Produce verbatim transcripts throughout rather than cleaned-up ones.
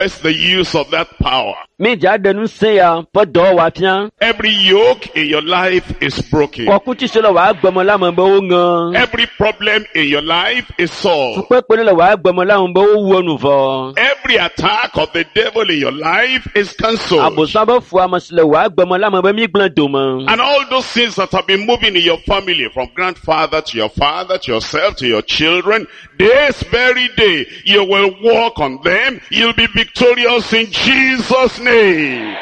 manifest the use of that power. Mi dza ɖe ŋusẽ ya ƒe dɔwɔwɔ afia. Every yoke in your life is broken. Kɔkuti si le wò agbeme la me be woŋe. Every problem in your life is solved. Fukpekpe ne le wò agbeme la me be wowu enu vɔ. Every attack of the devil in your life is cancelled. Abosam be fu ame si le wò agbeme la me be mi gblẽ dome. And all those things that have been moving in your family, from grandfather to your father, to yourself, to your children, this very day, you will walk on them. You'll be victorious in Jesus' name.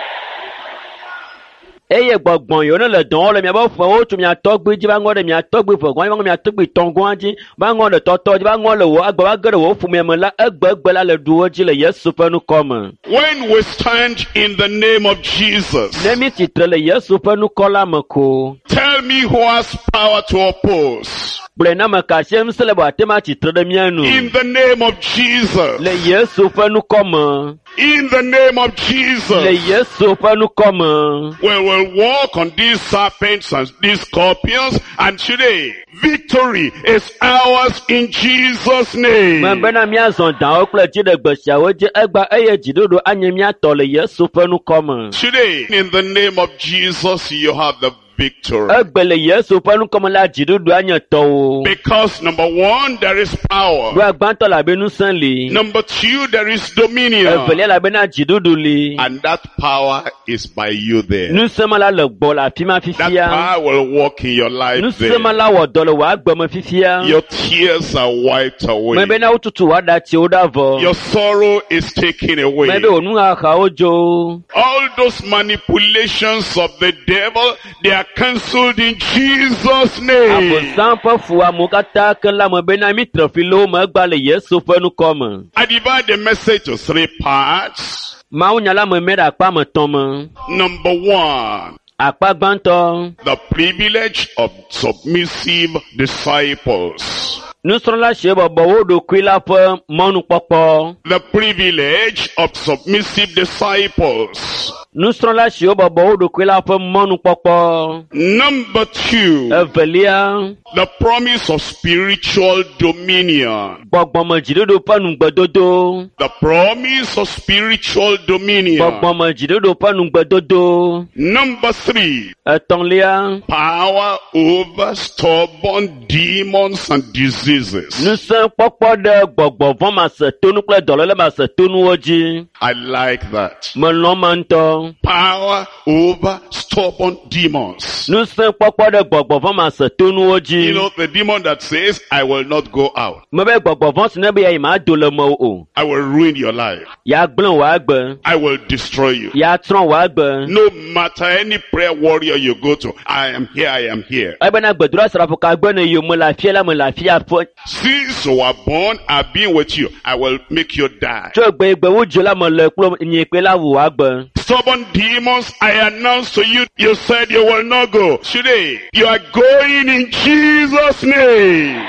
Eye gbɔgbɔn yiwo ne le dɔn wɔm le miaƒe ƒewo tso mia tɔgbui dzi va ŋɔ ɖe mia tɔgbui ƒe gɔ̃ dzi va ŋɔ mia tɔgbui tɔ̃ gɔ̃a dzi va ŋɔ ɖe tɔtɔ dzi va ŋɔ le wò agbe va ge ɖe wò ƒomea me la egbegbe la le ɖu wo dzi le Yesu ƒe ŋkɔ me. When we stand in the name of Jesus, Ne mi tsitre le Yesu ƒe ŋkɔ la me ko, tell me who has power to oppose. gblɔe na ame ka sie ŋusẽ le be wòate ŋu atsitre ɖe mía nu. In the name of Jesus. Le Yesu ƒe ŋkɔ me. In the name of Le Jesus. Yesu ƒe ŋkɔ me. We will walk on these serpents and these scorpions, and today, victory is ours in Jesus' name. Me bena míazɔ dawo kple dziɖegbe siawo dzi egba eye dziɖuɖu anye mía tɔ le Yesu ƒe ŋkɔ me. Today, in the name of Jesus, you have the victory. Egbe le Yesu ƒe ŋkɔ me la dziɖuɖu anye tɔwò. Because number one, there is power. Ɖoa gbãtɔ le abe ŋusẽ li. Number two, there is dominion. Evelia le abena dziɖuɖu li. And that power is by you there. Ŋusẽ ma la le gbɔ le afi ma That fifia. power will work in your life Ŋusẽ ma there. la wɔ dɔ le wò agbe me fifia. Your tears are wiped away. Me bena wotutu wò aɖatsiwo ɖa vɔ. Your sorrow is taken away. Me be wò nuxaxawo dzo. All those manipulations of the devil, they are cancelled in Jesus' name. Abosam ƒe fuamewo katã ke la me bena mi tre fi le wo me egba le Yesu ƒe ŋkɔ me. I divide the message to three parts. Mawunya la me mɛ ɖe akpa me tɔ̃ me. Number one, Akpa gbãtɔ, the privilege of submissive disciples. nusrɔ̃la siwo bɔbɔ wo ɖokui la ƒe mɔnukpɔkpɔ. The privilege of submissive disciples. Nusrɔ̃la siwo bɔbɔ wo ɖokui la ƒe mɔnukpɔkpɔ. Number two, Evelia, the promise of spiritual dominion. gbɔgbɔmedziɖuɖu ƒe nugbedodo. The promise of spiritual dominion. Gbɔgbɔmedziɖuɖu ƒe nugbedodo. Number three, Etɔ̃lia, power over stubborn demons and diseases. ŋusẽkpɔkpɔ ɖe gbɔgbɔ vɔ̃ masetonu kple dɔléle masetonuwo dzi. I like that. Melɔ̃ ma ŋutɔ. Power over stubborn demons. Ŋusẽkpɔkpɔ ɖe gbɔgbɔ vɔ̃ masetonuwo dzi. You know, the demon that says, I will not go out. Mebe gbɔgbɔ vɔ̃ si ne be yeayi ma do le mewò o. I will ruin your life. Yeagblẽ wò agbe. I will destroy you. Yeatsrɔ̃ wò agbe. No matter any prayer warrior you go to, I am here, I am here. Ebena gbedoɖa srafo ka gbe ne yiwo me le afia la me le afia ƒe. Since you were born, I've been with you. I will make you die. Tso egbe wo dzo la me le kple nye kple la wò agbe. Stubborn demons, I announce to you, you said you will not go. Today, you are going in Jesus' name.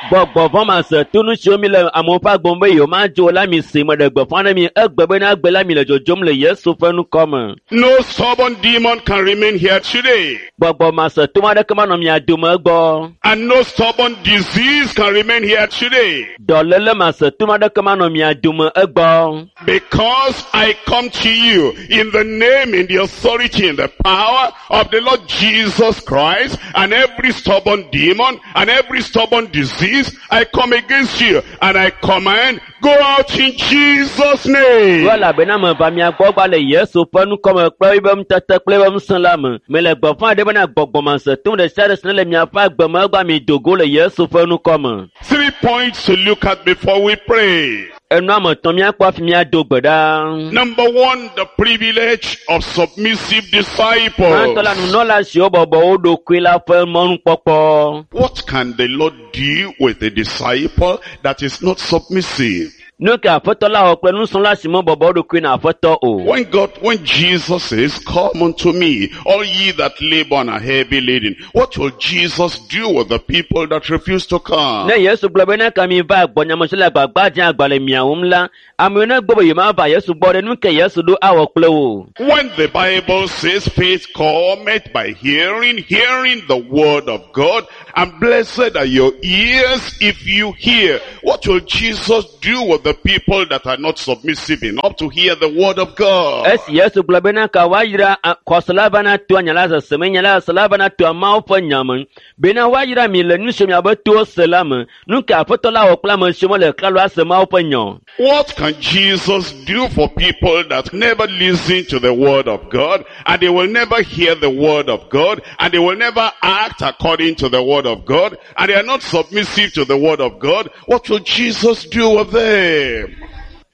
Gbɔgbɔ vɔ̃ masetonu siwo mi le amewo ƒe agbe me be yewo ma dzo la mi si me ɖe gbeƒã ɖe mi egbe bena agbe la mi le dzodzom le Yesu ƒe ŋkɔ me. No stubborn demon can remain here today. Gbɔgbɔ masetonu aɖeke manɔ mia dome gbɔ. And no stubborn disease can remain here today. Dɔléle masetonu aɖeke manɔ mia dome egbɔ. Because I come to you in the name, in the authority, in the power of the Lord Jesus Christ, and every stubborn demon and every stubborn disease, I come against you and I command, go out in Jesus' name. Ɖo elabena meva mia gbɔ gba le Yesu ƒe ŋkɔ me kple eƒe ŋutete kple eƒe ŋusẽ la me. Mele gbeƒã ɖem bena gbɔgbɔ masetonu ɖe sia ɖe si ne le miaƒe agbe me egbea mi do go le Yesu ƒe ŋkɔ me. Three points to look at before we pray. Enu ame etɔ̃ míakpɔ hafi míado gbe ɖa. Number one, the privilege of submissive disciples. Gbãtɔ la nunɔla siwo bɔbɔ wo ɖokui la ƒe mɔnukpɔkpɔ. What can the Lord do with a disciple that is not submissive? Nu ke aƒetɔ la wɔ kple nusrɔ̃la si mebɔbɔ wo ɖokui na aƒetɔ o. When God, when Jesus says, come unto me, all ye that labor and are heavy laden, what will Jesus do with the people that refuse to come? Ne Yesu gblɔ be ne ka mi va gbɔnyamesi le agbagba dze agba le mia wum la, amewo ne gbɔ be yewomava Yesu gbɔ ɖe nu ke Yesu ɖo awɔ kple wo. When the Bible says faith cometh by hearing, hearing the word of God, and blessed are your ears if you hear. What will Jesus do with the the people that are not submissive enough to hear the word of God? Esi Yesu gblɔ bena ka woayra a- xɔsela vana toa nya la sese me, nya la sesela vana toa Mawu ƒe nya me. Bena woayra mi le nu siwo miabe towo se la me. Nu ka Aƒetɔ la wɔ kple ame siwo mele klalo ase Mawu ƒe nya o? What can Jesus do for people that never listen to the word of God, and they will never hear the word of God, and they will never act according to the word of God, and they are not submissive to the word of God? What will Jesus do with them?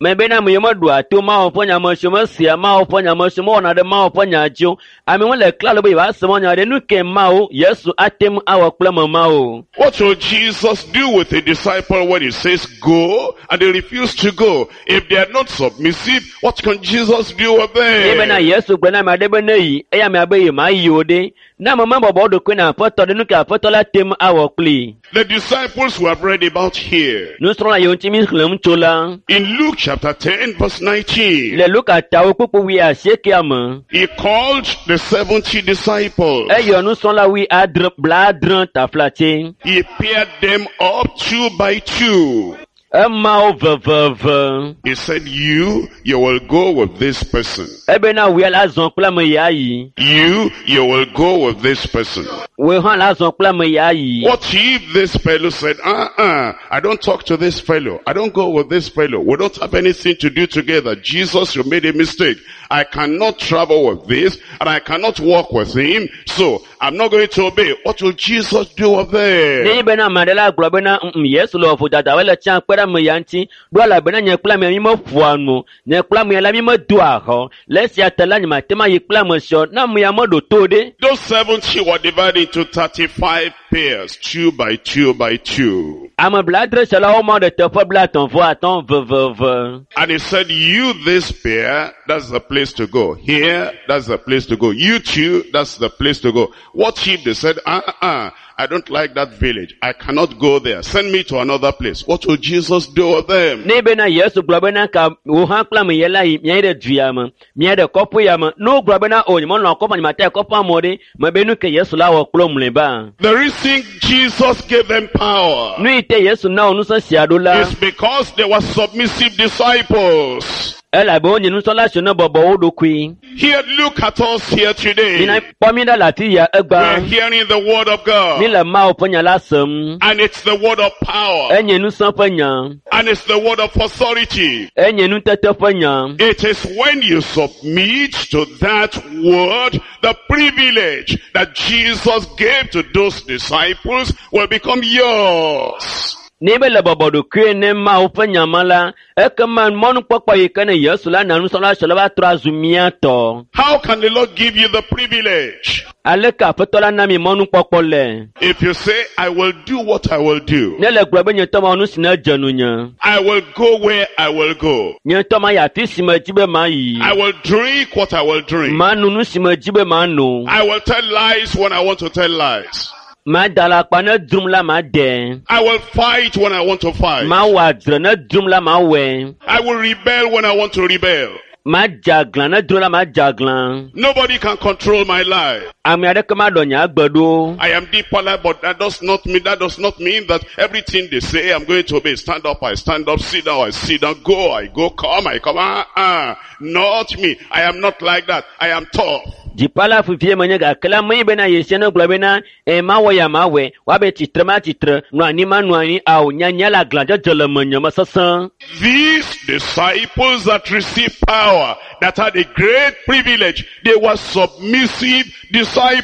Me bena ame yiwo meɖoa to Mawu ƒe nya me, siwo mesea Mawu ƒe nya me, siwo mewɔna ɖe Mawu ƒe nya dzi o, amewo le klalo be yewoase Mawu nya ɖe, nu ke Mawu, Yesu ate ŋu awɔ kple ame mawo? What will Jesus do with a disciple when he says go, and they refuse to go? If they are not submissive, what can Jesus do with Ye bena them? Yesu gblɔ na ame aɖe be ne yi, eye amea be yemayi o ɖe, ne ame mebɔbɔ wo ɖokui na Aƒetɔ ɖe, nu ke Aƒetɔ la te ŋu awɔ kplii? The disciples we have read about here, Nusrɔ̃la yiwo ŋuti mi xlẽm tso la, in Luke chapter ten verse nineteen, le Luka tawo kpukpu wui asiekea me, he called the seventy disciples. eyɔ nusrɔ̃la wui adre blaadre taflatse. He paired them up two by two. Ema wo veveve. He said, you, you will go with this person. Ebena wòe la zɔ kple ame ya yi. You, you will go with this person. Wòe hã la zɔ kple ame ya yi. What if this fellow said, uh-uh, I don't talk to this fellow. I don't go with this fellow. We don't have anything to do together. Jesus, you made a mistake. I cannot travel with this and I cannot walk with him. So I'm not going to obey. What will Jesus do with them? Nenye bena ame aɖe la gblɔ bena "Mm, Yesu le vodada wole tsã kpe ɖe ame ya ŋuti ɖo elabena nye kple amea mi meƒoa nu o. Nye kple amea la mi medoa xɔ. Le esia ta la nye mate ŋu ayi kple ame sia o. Ne amea meɖo to ɖe. Those seventy were divided into thirty-five pairs, two by two by two. Ame blaadre sia la womɔ ɖe teƒe blaetɔ̃ vɔ atɔ̃ veveve. And he said, you this pair, that's the place to go. Here, that's the place to go. You two, that's the place to go. What if they said, uh-uh, I don't like that village. I cannot go there. Send me to another place. What will Jesus do with them? Ne bena Yesu gblɔ bena ka wò hã kple ame ya la yi miayi ɖe du ya me, miayi ɖe kɔƒe ya me. Ne wogblɔ bena o nye melɔ̃ kɔƒe, nye mate yi kɔƒea me o ɖe, mebe nu ke Yesu la wɔ kple wo mlɔeba. The reason Jesus gave them power Nu yi te Yesu na wo ŋusẽ sia ɖo la, is because they were submissive disciples. elabe wonye nusrɔ̃la siwo ne bɔbɔ wo ɖokui. Here, look at us here today. Mina kpɔ mi ɖa le afi ya We're egbea. hearing the word of God. Mi le Mawu ƒe nya la sem. And it's the word of power. Enye ŋusẽ ƒe nya. And it's the word of authority. Enye nutete ƒe nya. It is when you submit to that word, the privilege that Jesus gave to those disciples will become yours. Ne be le bɔbɔ ɖokui ne Mawu ƒe nya ma la, ekema mɔnukpɔkpɔ yi ke ne Yesu la na nusrɔ̃la siawo la va trɔ azu mía tɔ. How can the Lord give you the privilege? Aleke Aƒetɔ la na mi mɔnukpɔkpɔ le? If you say, I will do what I will do. Ne le gblɔ be nye ŋutɔ mawɔ nu si ne dze nunye. I will go where I will go. Nye ŋutɔ mayi afi si medzi be mayi. I will drink what I will drink. Manu nu si medzi be mano. I will tell lies when I want to tell lies. Mada alakpa ne drum la made. I will fight when I want to fight. Mawɔ adzre ne drum la mawɔe. I will rebel when I want to rebel. Madze aglã ne drum la madze aglã. Nobody can control my life. Ame aɖeke maɖɔ nye agbe ɖo. I am deeper life, but that does not mean, that does not mean that everything they say I'm going to obey. Stand up, I stand up, sit down, I sit down, go, I go, come, I come. Ah, ah. Not me. I am not like that. I am tough. Dzipala fifie menye gake la menye bena Yesu ne gblɔ bena e mawɔ ya mawɔe, woabe tsitre ma tsitre, nɔ anyi ma nɔ anyi, ao nyanya le aglãdzedze le menye me sesẽ. These disciples that received power, that had a great privilege, they were submissive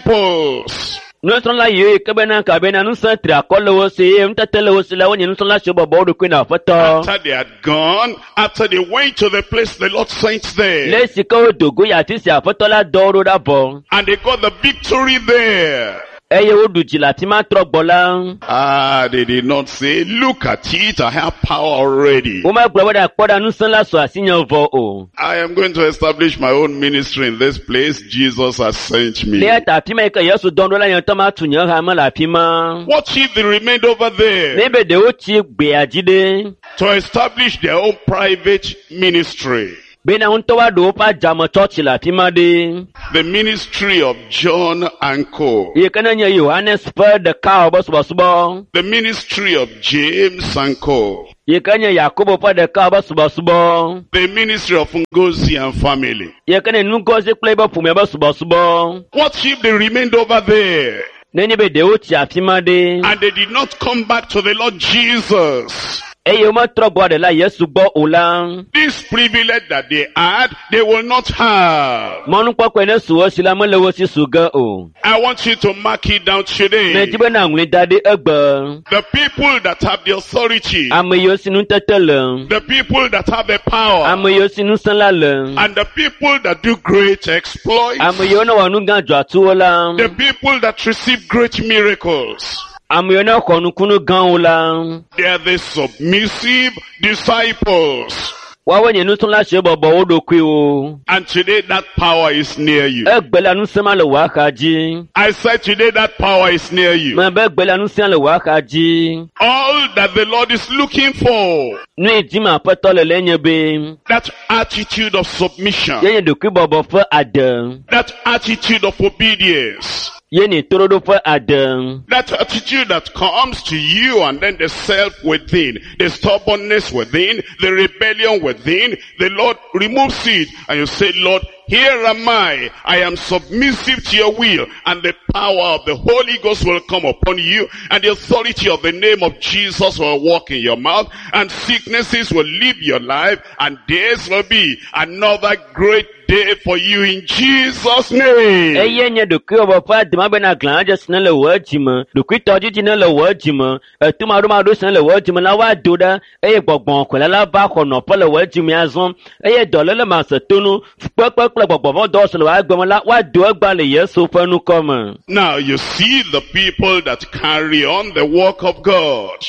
disciples. Nusrɔ̃la yiwo yi ke bena ka bena ŋusẽ tri akɔ le wo si eye nutete le wo si la wonye nusrɔ̃la siwo bɔbɔ wo ɖokui na Aƒetɔ. After they had gone, after they went to the place the Lord sent them, Le esi ke wodo go yi afi si Aƒetɔ la dɔ wo ɖo ɖa vɔ and they got the victory there. eye woɖu dzi le afi ma trɔ gbɔ la, Ah, they did not say, look at it, I have power already. womegblɔ be ɖe kpɔ ɖa ŋusẽ la su asinye vɔ o. I am going to establish my own ministry in this place. Jesus has sent me. Le eya ta afi ma yi ke Yesu dɔm ɖo la nye ŋutɔ matu nye hame le afi ma. What if they remained over there Ne be ɖewo tsi gbea dzi ɖe. to establish their own private ministry? Bena ŋutɔ woaɖo woƒe adzame tsɔtsi le afi ma ɖe. The ministry of John and Co. Yi ke ne nye Yohanes ƒe ɖeka be subɔsubɔ. The ministry of James and Co. Yi ke nye Yakobo ƒe ɖeka ƒe subɔsubɔ. The ministry of Ngozi and family. Yi ke nye Ngozi kple eƒe ƒomea ƒe subɔsubɔ. What if they remained over there Nenye be ɖewo tsi afi ma ɖe and they did not come back to the Lord Jesus? eye wometrɔ gbɔ ɖe la Yesu gbɔ o la, This privilege that they had, they will not have. mɔnukpɔkpɔe ne su wo si la mele wo si su ge o. I want you to mark it down today. Medi be na ŋlɔe da ɖi egbe. The people that have the authority, Ame yiwo si nutete le, the people that have the power, ame yiwo si ŋusẽ la le, and the people that do great exploits, ame yiwo ne wɔ nu gã dzɔatsuwo la, the people that receive great miracles, ame yiwo ne xɔ nukunu gãwo la, they are the submissive disciples. woawoe nye nusrɔ̃la siwo bɔbɔ wo ɖokuiwo. And today that power is near you. Egbe la ŋusẽ ma le wò axa dzi. I said today that power is near you. Mebe egbe la ŋusẽ le wò axa dzi. All that the Lord is looking for, Nu yi dim aƒetɔ le le nye be, that attitude of submission, ye nye ɖokuibɔbɔ ƒe ade, that attitude of obedience, ye nye toɖoɖo ƒe ade. that attitude that comes to you and then the self within, the stubbornness within, the rebellion within, the Lord removes it and you say, Lord, here am I. I am submissive to your will, and the power of the Holy Ghost will come upon you, and the authority of the name of Jesus will walk in your mouth, and sicknesses will leave your life, and this will be another great day for you in Jesus' name. Eye nye ɖokuibɔbɔ ƒe ade ma bena glãdze si ne le wò dzime, ɖokuitɔdzidzi ne le wò dzime, etumaɖomaɖo si ne le wò dzime la woado ɖa eye gbɔgbɔ kɔle la va xɔ nɔƒe le wò dzime azɔ eye dɔléle masetonu, fukpekpe kple gbɔgbɔvɔ̃dɔwɔwɔ si le wò agbe me la woado egbea le Yesu ƒe ŋkɔ me. Now you see the people that carry on the work of God.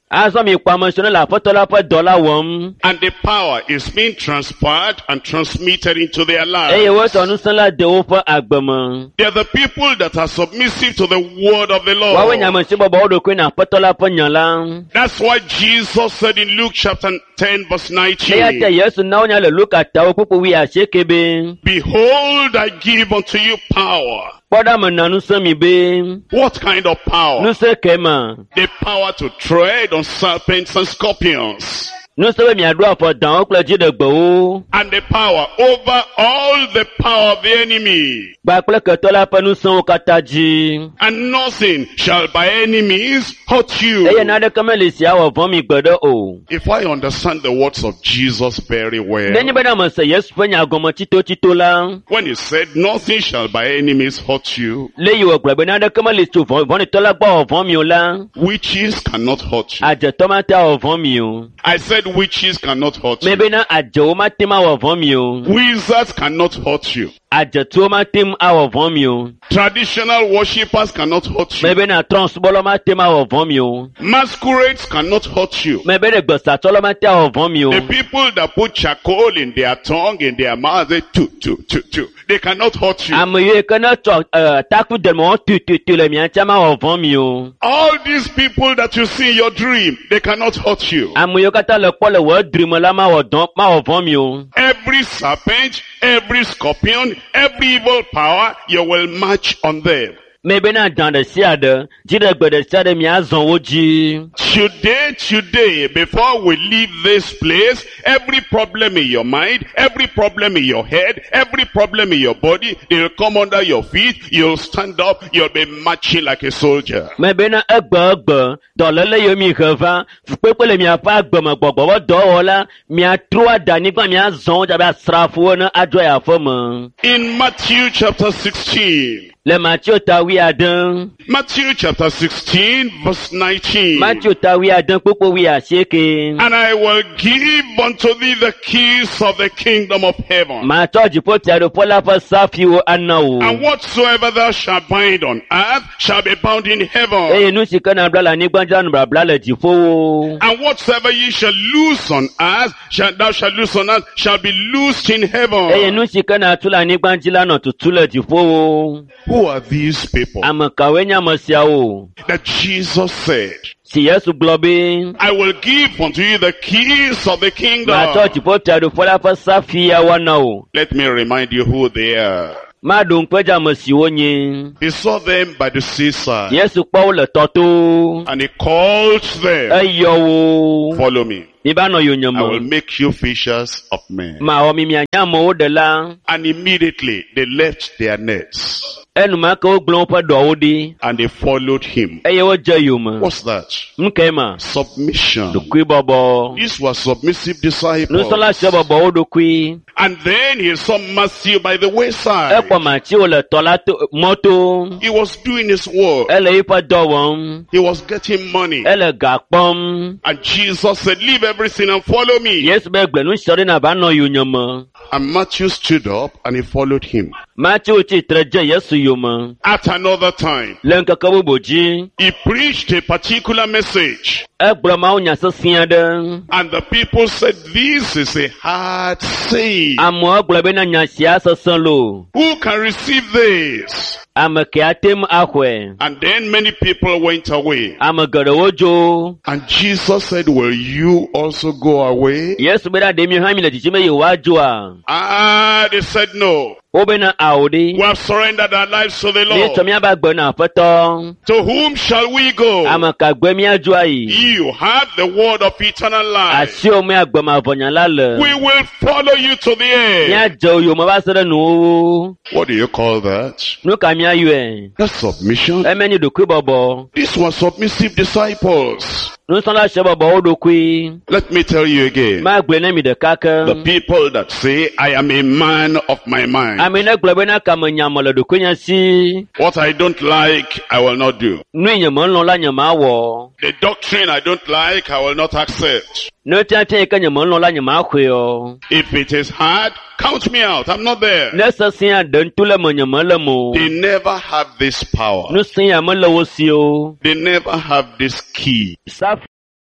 Azɔ mi kpɔ ame siwo ne le aƒetɔ la ƒe dɔ la wɔm And the power is being transferred and transmitted into their eye lives. wotsɔ ŋusẽ la de woƒe agbe me. They are the people that are submissive to the word of the Woawoe nye Lord. ame siwo bɔbɔ wo ɖokui na aƒetɔ la ƒe nya la. That's why Jesus said in Luke chapter ten verse Eya ta nineteen, Yesu na wonya le Luka tawo kpukpu wuiasieke be, Behold, I give unto you power. kpɔ ɖa mena ŋusẽ mi be, What kind of power? ŋusẽ ke ma? The power to tread on serpents and scorpions. Ŋusẽ be miaɖo afɔ dawo kple dziɖegbewo And the power over all the power of the enemy. kpakple ketɔ la ƒe ŋusẽwo katã dzi. And nothing shall by any means hurt you. Eye naneke meli si awɔ vɔ̃ mi gbeɖe o. If I understand the words of Jesus very well, Nenye bena mese Yesu ƒe nya gɔme tsitotsito la, when he said nothing shall by any means hurt you, le yi wògblɔ be naneke meli tso vɔ̃ vɔ̃ɖitɔ la gbɔ awɔ vɔ̃ mi o la, witches cannot hurt you. adzetɔ mate awɔ vɔ̃ mi o. I said witches cannot hurt you. Mebena adzewo mate ŋu awɔ vɔ̃ mi o. Wizards cannot hurt you. Adzetuwo mate ŋu awɔ vɔ̃ mi o. Traditional worshippers cannot hurt you. Mebena trɔ̃subɔlawo mate ŋu awɔ vɔ̃ mi o. Masquerades cannot hurt you. Mebena gbesatsɔlawo mate awɔ vɔ̃ mi o. The people that put charcoal in their tongue, in their mouth, they two, two, two, two. They cannot hurt you. Ame yiwo ke ne tsɔ eh, taku de me wɔm tututu le mia ŋutia mawɔ vɔ̃ mi o. All these people that you see in your dream, they cannot hurt you. Ame yiwo katã le kpɔ le wò edri me la mawɔ dɔn mawɔ vɔ̃ mi o. Every serpent, every scorpion, every evil power, you will march on them. Mebena dan ɖe sia ɖe, dziɖegbe ɖe sia ɖe miazɔ wo dzi. Today, today, before we leave this place, every problem in your mind, every problem in your head, every problem in your body, they'll come under your feet, you'll stand up, you'll be marching like a soldier. Mebena egbe egbe, dɔléle yiwo mi he va, fukpekpe le miaƒe agbe me gbɔgbɔ ƒe dɔwɔla, miatrɔ ada anyigba miazɔ wo dzi abe asrafowo ene adzo yi aƒe me. In Matthew chapter sixteen, Le Mateo ta wuiade, Matthew chapter sixteen verse nineteen. Mateo ta wuiade kpukpu wuiasieke. And I will give unto thee the keys of the kingdom of heaven. Matsɔ dziƒofiaɖuƒe la ƒe safiwo ana wò. And whatsoever thou shalt bind on earth shall be bound in heaven. Eye nu si ke nabla le anyigba dzi la nu blabla le dziƒowo. And whatsoever ye shall loose on earth, shall thou shalt loose on earth, shall be loosed in Eye heaven. nu si ke natu le anyigba dzi la nɔ tutu le dziƒowo. Who are these people Ame kawoe nye ame siawo? that Jesus said, Si Yesu gblɔ be, I will give unto you the keys of the kingdom. matsɔ dziƒofiaɖuƒe la ƒe safiawo ana wò. Let me remind you who they are. Maɖo ŋku edzi ame si wonye. He saw them by the seaside Yesu kpɔ wo le tɔ to. and he called them, Eyɔ wo. Follow me. Miva nɔ I will yonyeme. make you fishers of men. Mawɔ mi mianye amewo ɖela. And immediately they left their nets Enumake wogblẽ woƒe ɖɔwo ɖi and they followed him. eye wodze yome. What's that? Nu kae ma? Submission. Ɖokuibɔbɔ. These were submissive disciples. Nusrɔ̃la sia bɔbɔ wo ɖokui. And then he saw Matthew by the wayside. Ekpɔ Mateo le tɔ la to mɔto. He was doing his work. Ele eƒe dɔ wɔm. He was getting money. Ele ga kpɔm. And Jesus said, leave everything and follow me. Yesu be gbe nu sia ɖi nava nɔ yonyeme. And Matthew stood up and he followed him. Mateo tsitre dze Yesu yome. At another time, Le ŋkeke bubu dzi, he preached a particular message. egblɔ mawunya sesẽ aɖe. And the people said, this is a hard saying. Amewo gblɔ bena nya sia sesẽ loo. Who can receive this? Ame ke ate ŋu axɔe. And then many people went away. Ame geɖewo dzo. And Jesus said, will you also go away? Yesu bena ɖe mi hã mi le dzidzim be yewoadzoa? Ah, they said no. Wobena ao ɖi. We have surrendered our lives to the Míetsɔ Lord. míaƒe agbe na Aƒetɔ. To whom shall we go? Ame ka gbe míadzo ayi? You have the word of eternal life. Asiwò me agbemavɔnya la le. We will follow you to the end. Míadze wo yome va se ɖe nuwuwu. What do you call that? Nu ka míayɔe? That's submission. Eme nye ɖokuibɔbɔ. These were submissive disciples. Nusrɔ̃la sia bɔbɔ wo ɖokui. Let me tell you again. Magblɔe ne mi ɖeka The ke. people that say, I am a man of my mind. Ame ne gblɔ bena kame nyame le ɖokuinye si. What I don't like, I will not do. Nu yi nye melɔ̃ la nye mawɔ. The doctrine I don't like, I will not accept. Nu tiatia yi ke nye melɔ̃ la nye maxɔe o. If it is hard, count me out. I'm not there. Ne sesẽa ɖe ŋutu le me nye mele me o. They never have this power. Nusẽ ya mele wo si o. They never have this key. Safi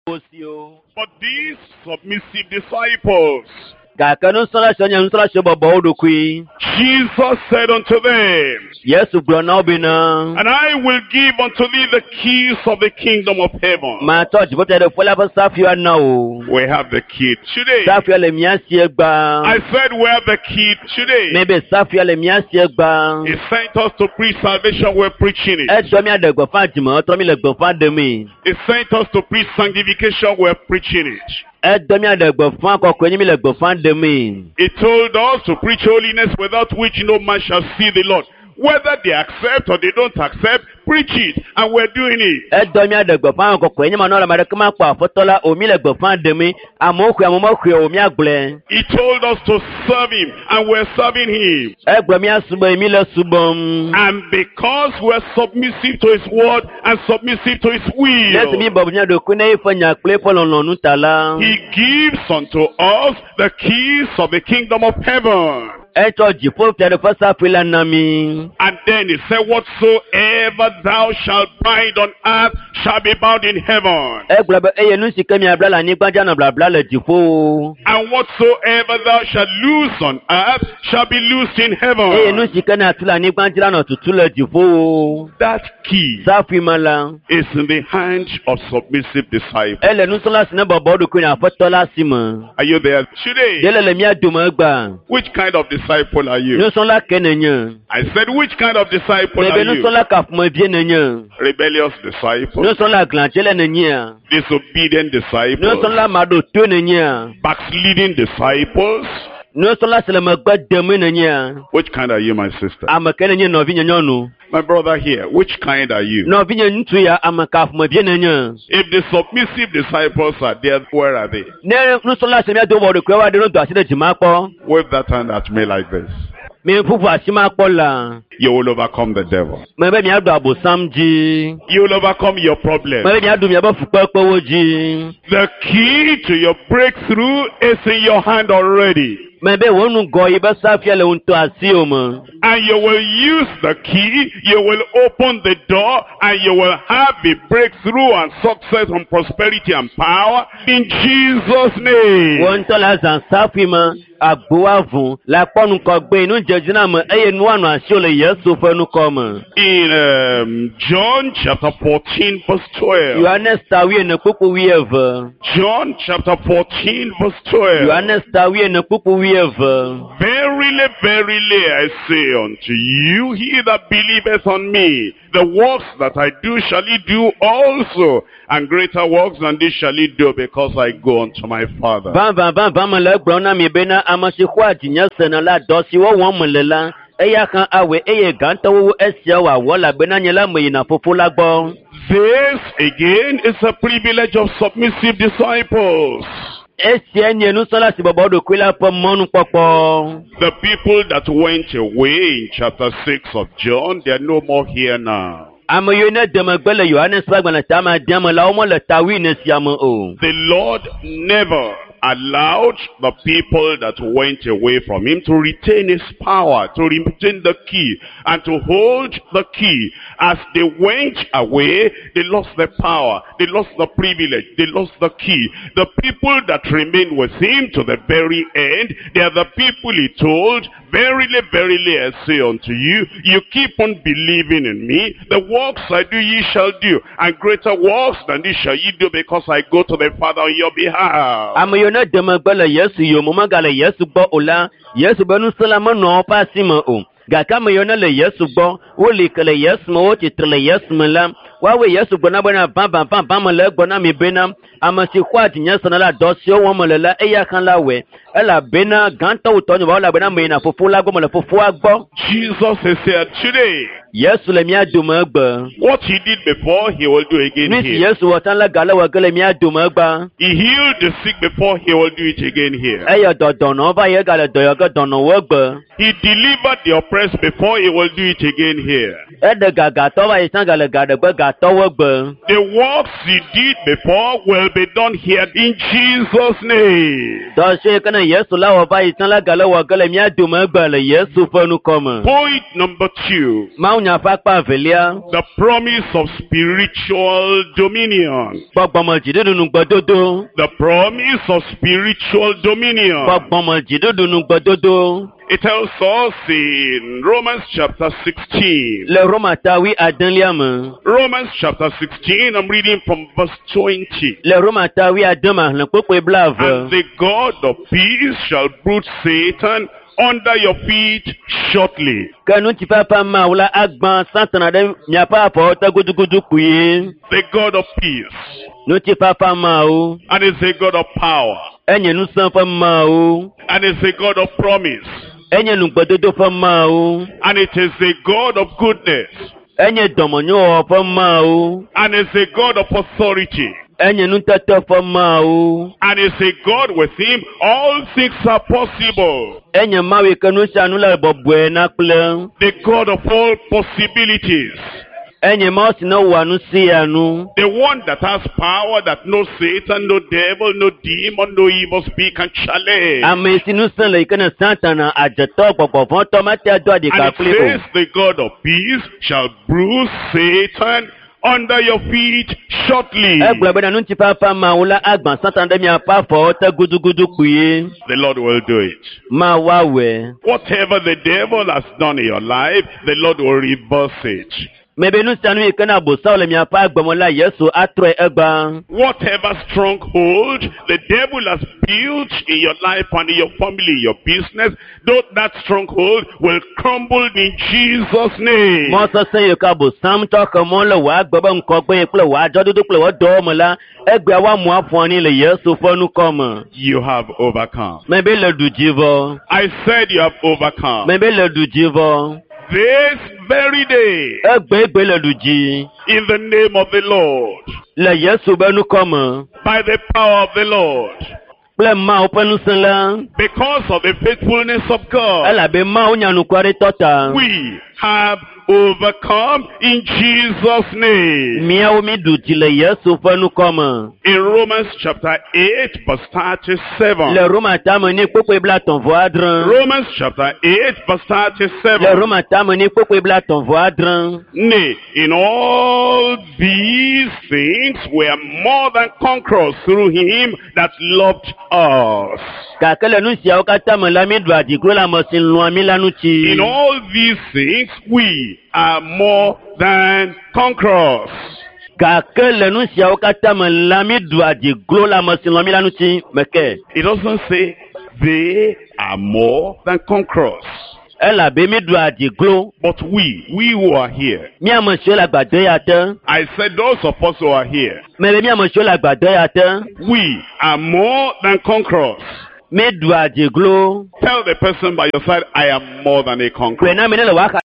wo si o. But these submissive disciples, Gake nusrɔ̃la siawo nye nusrɔ̃la siwo bɔbɔ wo ɖokui. Jesus said unto them, Yesu gblɔ na wo bena, And I will give unto thee the keys of the kingdom of heaven. matsɔ dziƒofiaɖuƒe la ƒe safuiwo ana wò. We have the key today. Safuia le mía si egbea. I said we have the key today. Mebe safuia le mía si egbea. He sent us to preach salvation, we're preaching it. Etsɔ mía ɖe gbeƒã dzimetrɔ mi le gbeƒã ɖemee. He sent us to preach sanctification, we're preaching it. Edɔ mía ɖe gbeƒã kɔkɔe mi le gbeƒã ɖemee. He told us to preach holiness without which no man shall see the Lord. Whether they accept or they don't accept, preach it, and we're doing it. Edɔ mía ɖe gbeƒã kɔkɔe nye manɔ ame aɖeke makpɔ aƒetɔ la o mi le gbeƒã ɖemee. Amewo xɔe amewo mexɔe o míagblɔe. He told us to serve him, and we're serving him. Egblɔ mía subɔe mi le subɔm. And because we're submissive to his word and submissive to his Ne esi mi will, bɔbɔ mía ɖokui ne eƒe nya kple eƒe lɔlɔ̃nu ta la, he gives unto us the keys of the kingdom of heaven. etsɔ dziƒofiaɖuƒe safui la na mi. And then he said, Whatsoever thou shalt bind on earth shall be bound in heaven. Egblɔ be eye nu si ke miabla le anyigba dzi anɔ blabla le dziƒowo. And whatsoever thou shalt loose on earth shall be loosed in Eye nu heaven. si ke nàtu le anyigba dzi la nɔ tutu le dziƒowo. That key Safui ma la, is in the hand of submissive disciples. ele nusrɔ̃la si ne bɔbɔ eɖokui na aƒetɔ la si me. Are you there today? Ɖe le le mía dome egbea. Which kind of disciple are you? Nusrɔ̃la ke nenye. I said, which kind of disciple Mebe are you? nusrɔ̃la ka ƒomevie nenye. Rebellious disciple, Nusrɔ̃la glãdzele nenyea. disobedient disciples, Nusrɔ̃la maɖotoe nenyea. backsliding disciples. Nusrɔ̃la si le megbe demee nenyea. Which kind are you, my sister? Ame ke nenye nɔvinye nyɔnu. My brother here, which kind are you? Nɔvinye ŋutsu ya ame ka ƒomevie nenye. If the submissive disciples are there, where are they? Ne nusrɔ̃la si míado bɔ ɖokuiwo aɖe no do asi ɖe dzi makpɔ. Wave that hand at me like this. Mi ƒuƒu asi makpɔ la. You will overcome the devil. Mebe miaɖu abosam dzi. You will overcome your problem. Mebe miaɖu miaƒe fukpekpewo dzi. The key to your breakthrough is in your hand already. Mebe wò ŋgɔ yi be safia le ŋutɔ asiwò me. And you will use the key, you will open the door, and you will have a breakthrough and success and prosperity and power in Jesus' Wò name. ŋutɔ le azã safui me, agbo avu, le akpɔ ŋgɔgbe, nudzedziname eye nu anɔ asiwò le Yesu ƒe ŋkɔ me. In um, John chapter fourteen verse twelve. Yohanes ta wuiene kpukpu wuieve. John chapter fourteen verse twelve. Yohanes ta wuiene kpukpu wuieve. Verily, verily, I say unto you, he that believeth on me, the works that I do shall he do also, and greater works than this shall he do, because I go unto my Father. Vavã vavã mele egblɔm na mi bena ame si xɔa dzinye sena la dɔ siwo wɔm mele la eya hã awɔe eye gãtɔwo wu esia wòawɔ elabena nye la meyina fofo la gbɔ. This again is a privilege of submissive disciples. Esia nye nusrɔ̃la si bɔbɔ ɖokui la ƒe mɔnukpɔkpɔ. The people that went away in chapter six of John, they are no more here now. Ame yiwo ne de megbe le Yohanes ƒe agbalẽ ta ame adea me la womele ta wuiene sia me o. The Lord never allowed the people that went away from him to retain his power, to retain the key, and to hold the key. As they went away, they lost the power, they lost the privilege, they lost the key. The people that remained with him to the very end, they are the people he told, verily, verily, I say unto you, you keep on believing in me, the works I do ye shall do, and greater works than this shall ye do, because I go to the Father on your behalf. Ame yiwo ne de megbe le Yesu yome megale Yesu gbɔ o la, Yesu be ŋusẽ la menɔ woƒe asi me o. Gake ame yiwo ne le Yesu gbɔ, woli ke le Yesu me, wotsitre le Yesu me la, woawoe Yesu gblɔ na bena vavã vavã mele egblɔ na mi bena ame si xɔa dzinye sena la dɔ siwo wɔm mele la eya hã la wɔe elabena gãtɔ wu tɔnye vɔ elabena meyina fofo la gbɔ mele fofoa gbɔ. Jesus is here today. Yesu le mía dome egbe. What he did before, he will do again Nu si here. Yesu wɔ tsã la gale wɔ ge le mía dome egbea. He healed the sick before, he will do it again here. Eyɔ dɔ dɔnɔwo va yi egale dɔ yɔ ge dɔnɔwo egbe. He delivered the oppressed before, he will do it again here. Eɖe gagatɔ va yi tsã gale ga ɖe gbe gatɔwo egbe. The works he did before will be done here in Jesus' name. Dɔ si ke ne Yesu la wɔ va yi tsã la gale wɔ ge le mía dome egbe le Yesu ƒe ŋkɔ me. Point number two. Mawunya ƒe akpa evelia. The promise of spiritual dominion. Gbɔgbɔme dziɖuɖu nugbedodo. The promise of spiritual dominion. Gbɔgbɔme dziɖuɖu nugbedodo. It tells us in Romans chapter sixteen. Le Roma ta wuiadelia me. Romans chapter sixteen, I'm reading from verse twenty. Le Roma ta wuiade me xlẽ kpukpui blaeve. And the God of peace shall bruise Satan under your feet shortly. Ke ŋutifafa Mawu la agbã Satana ɖe miaƒe afɔwo te gudugudu kpuie. The God of peace. Ŋutifafa Mawu. And is a God of power. Enye ŋusẽ ƒe Mawu. And is a God of promise. Enye nugbedodo ƒe Mawu. And it is a God of goodness. Enye dɔmenyowɔwɔ ƒe Mawu. And is a God of authority. Enye nutete ƒe Mawu. And is a God with him all things are possible. Enye Mawu yi ke nu sia nu le bɔbɔe na kple. The God of all possibilities. Enye Mawu si ne wɔa nu sia nu. The one that has power that no Satan, no devil, no demon, no evil spirit can challenge. Ame si ŋusẽ le yi ke ne Satana adzetɔ gbɔgbɔvɔ̃tɔ mate ado And aɖika it kpli o. says the God of peace shall bruise Satan under your feet shortly. Egblɔ bena ŋutifafa Mawu la agbã Satana ɖe miaƒe afɔwo te gudugudu kpuie. The Lord will do it. Mawu awɔe. Whatever the devil has done in your life, the Lord will reverse it. Mebe nu sia nu yi ke na Abosam le miaƒe agbeme la, Yesu atrɔe egbea. Whatever stronghold the devil has built in your life and in your family, your business, though that stronghold will crumble in Jesus' name. Mɔ sesẽ yi ke Abosam tɔ xe mɔ le wò agbe be ŋkɔgbe kple wò adzɔdodo kple wò dɔwo me la, egbea woamu aƒu anyi le Yesu ƒe ŋkɔ me. You have overcome. Mebe le ɖu dzi vɔ. I said you have overcome. Mebe le ɖu dzi vɔ. This very day, Egbegbe le ɖu dzi. in the name of the Lord, Le Yesu be ŋkɔ me. by the power of the Lord, Kple Mawu ƒe ŋusẽ la. because of the faithfulness of God, Elabe Mawu nya nukwaretɔ ta. we have overcome in Jesus' name. Míawo mi ɖu dzi le Yesu ƒe ŋkɔ me. In Romans chapter eight, verse thirty-seven. Le Roma tame ni kpukpui blaetɔ̃ vɔ adre. Romans chapter eight, verse Le thirty-seven. Roma tame ni kpukpui blaetɔ̃ vɔ adre. Nay, in all these things we are more than conquerors through him that loved us. Gake le nu siawo katã me la, mi ɖu adiglo le ame si lɔ̃a mi la ŋuti. In all these things we are more than conquerors. Gake le nu siawo katã me la, mi ɖu adiglo le ame si lɔ̃a mi la ŋuti. Meke. It doesn't say They are more than conquerors. Elabe mi ɖua dzi glo. But we, we who are here, Mi ame siwo le agbadɔ ya te. I said those of us who are here, Mebe mi ame siwo le agbadɔ ya te. we are more than conquerors. Mi ɖua dzi glo. Tell the person by your side, I am more than a conqueror. Gblɔe na mi ne le wò axa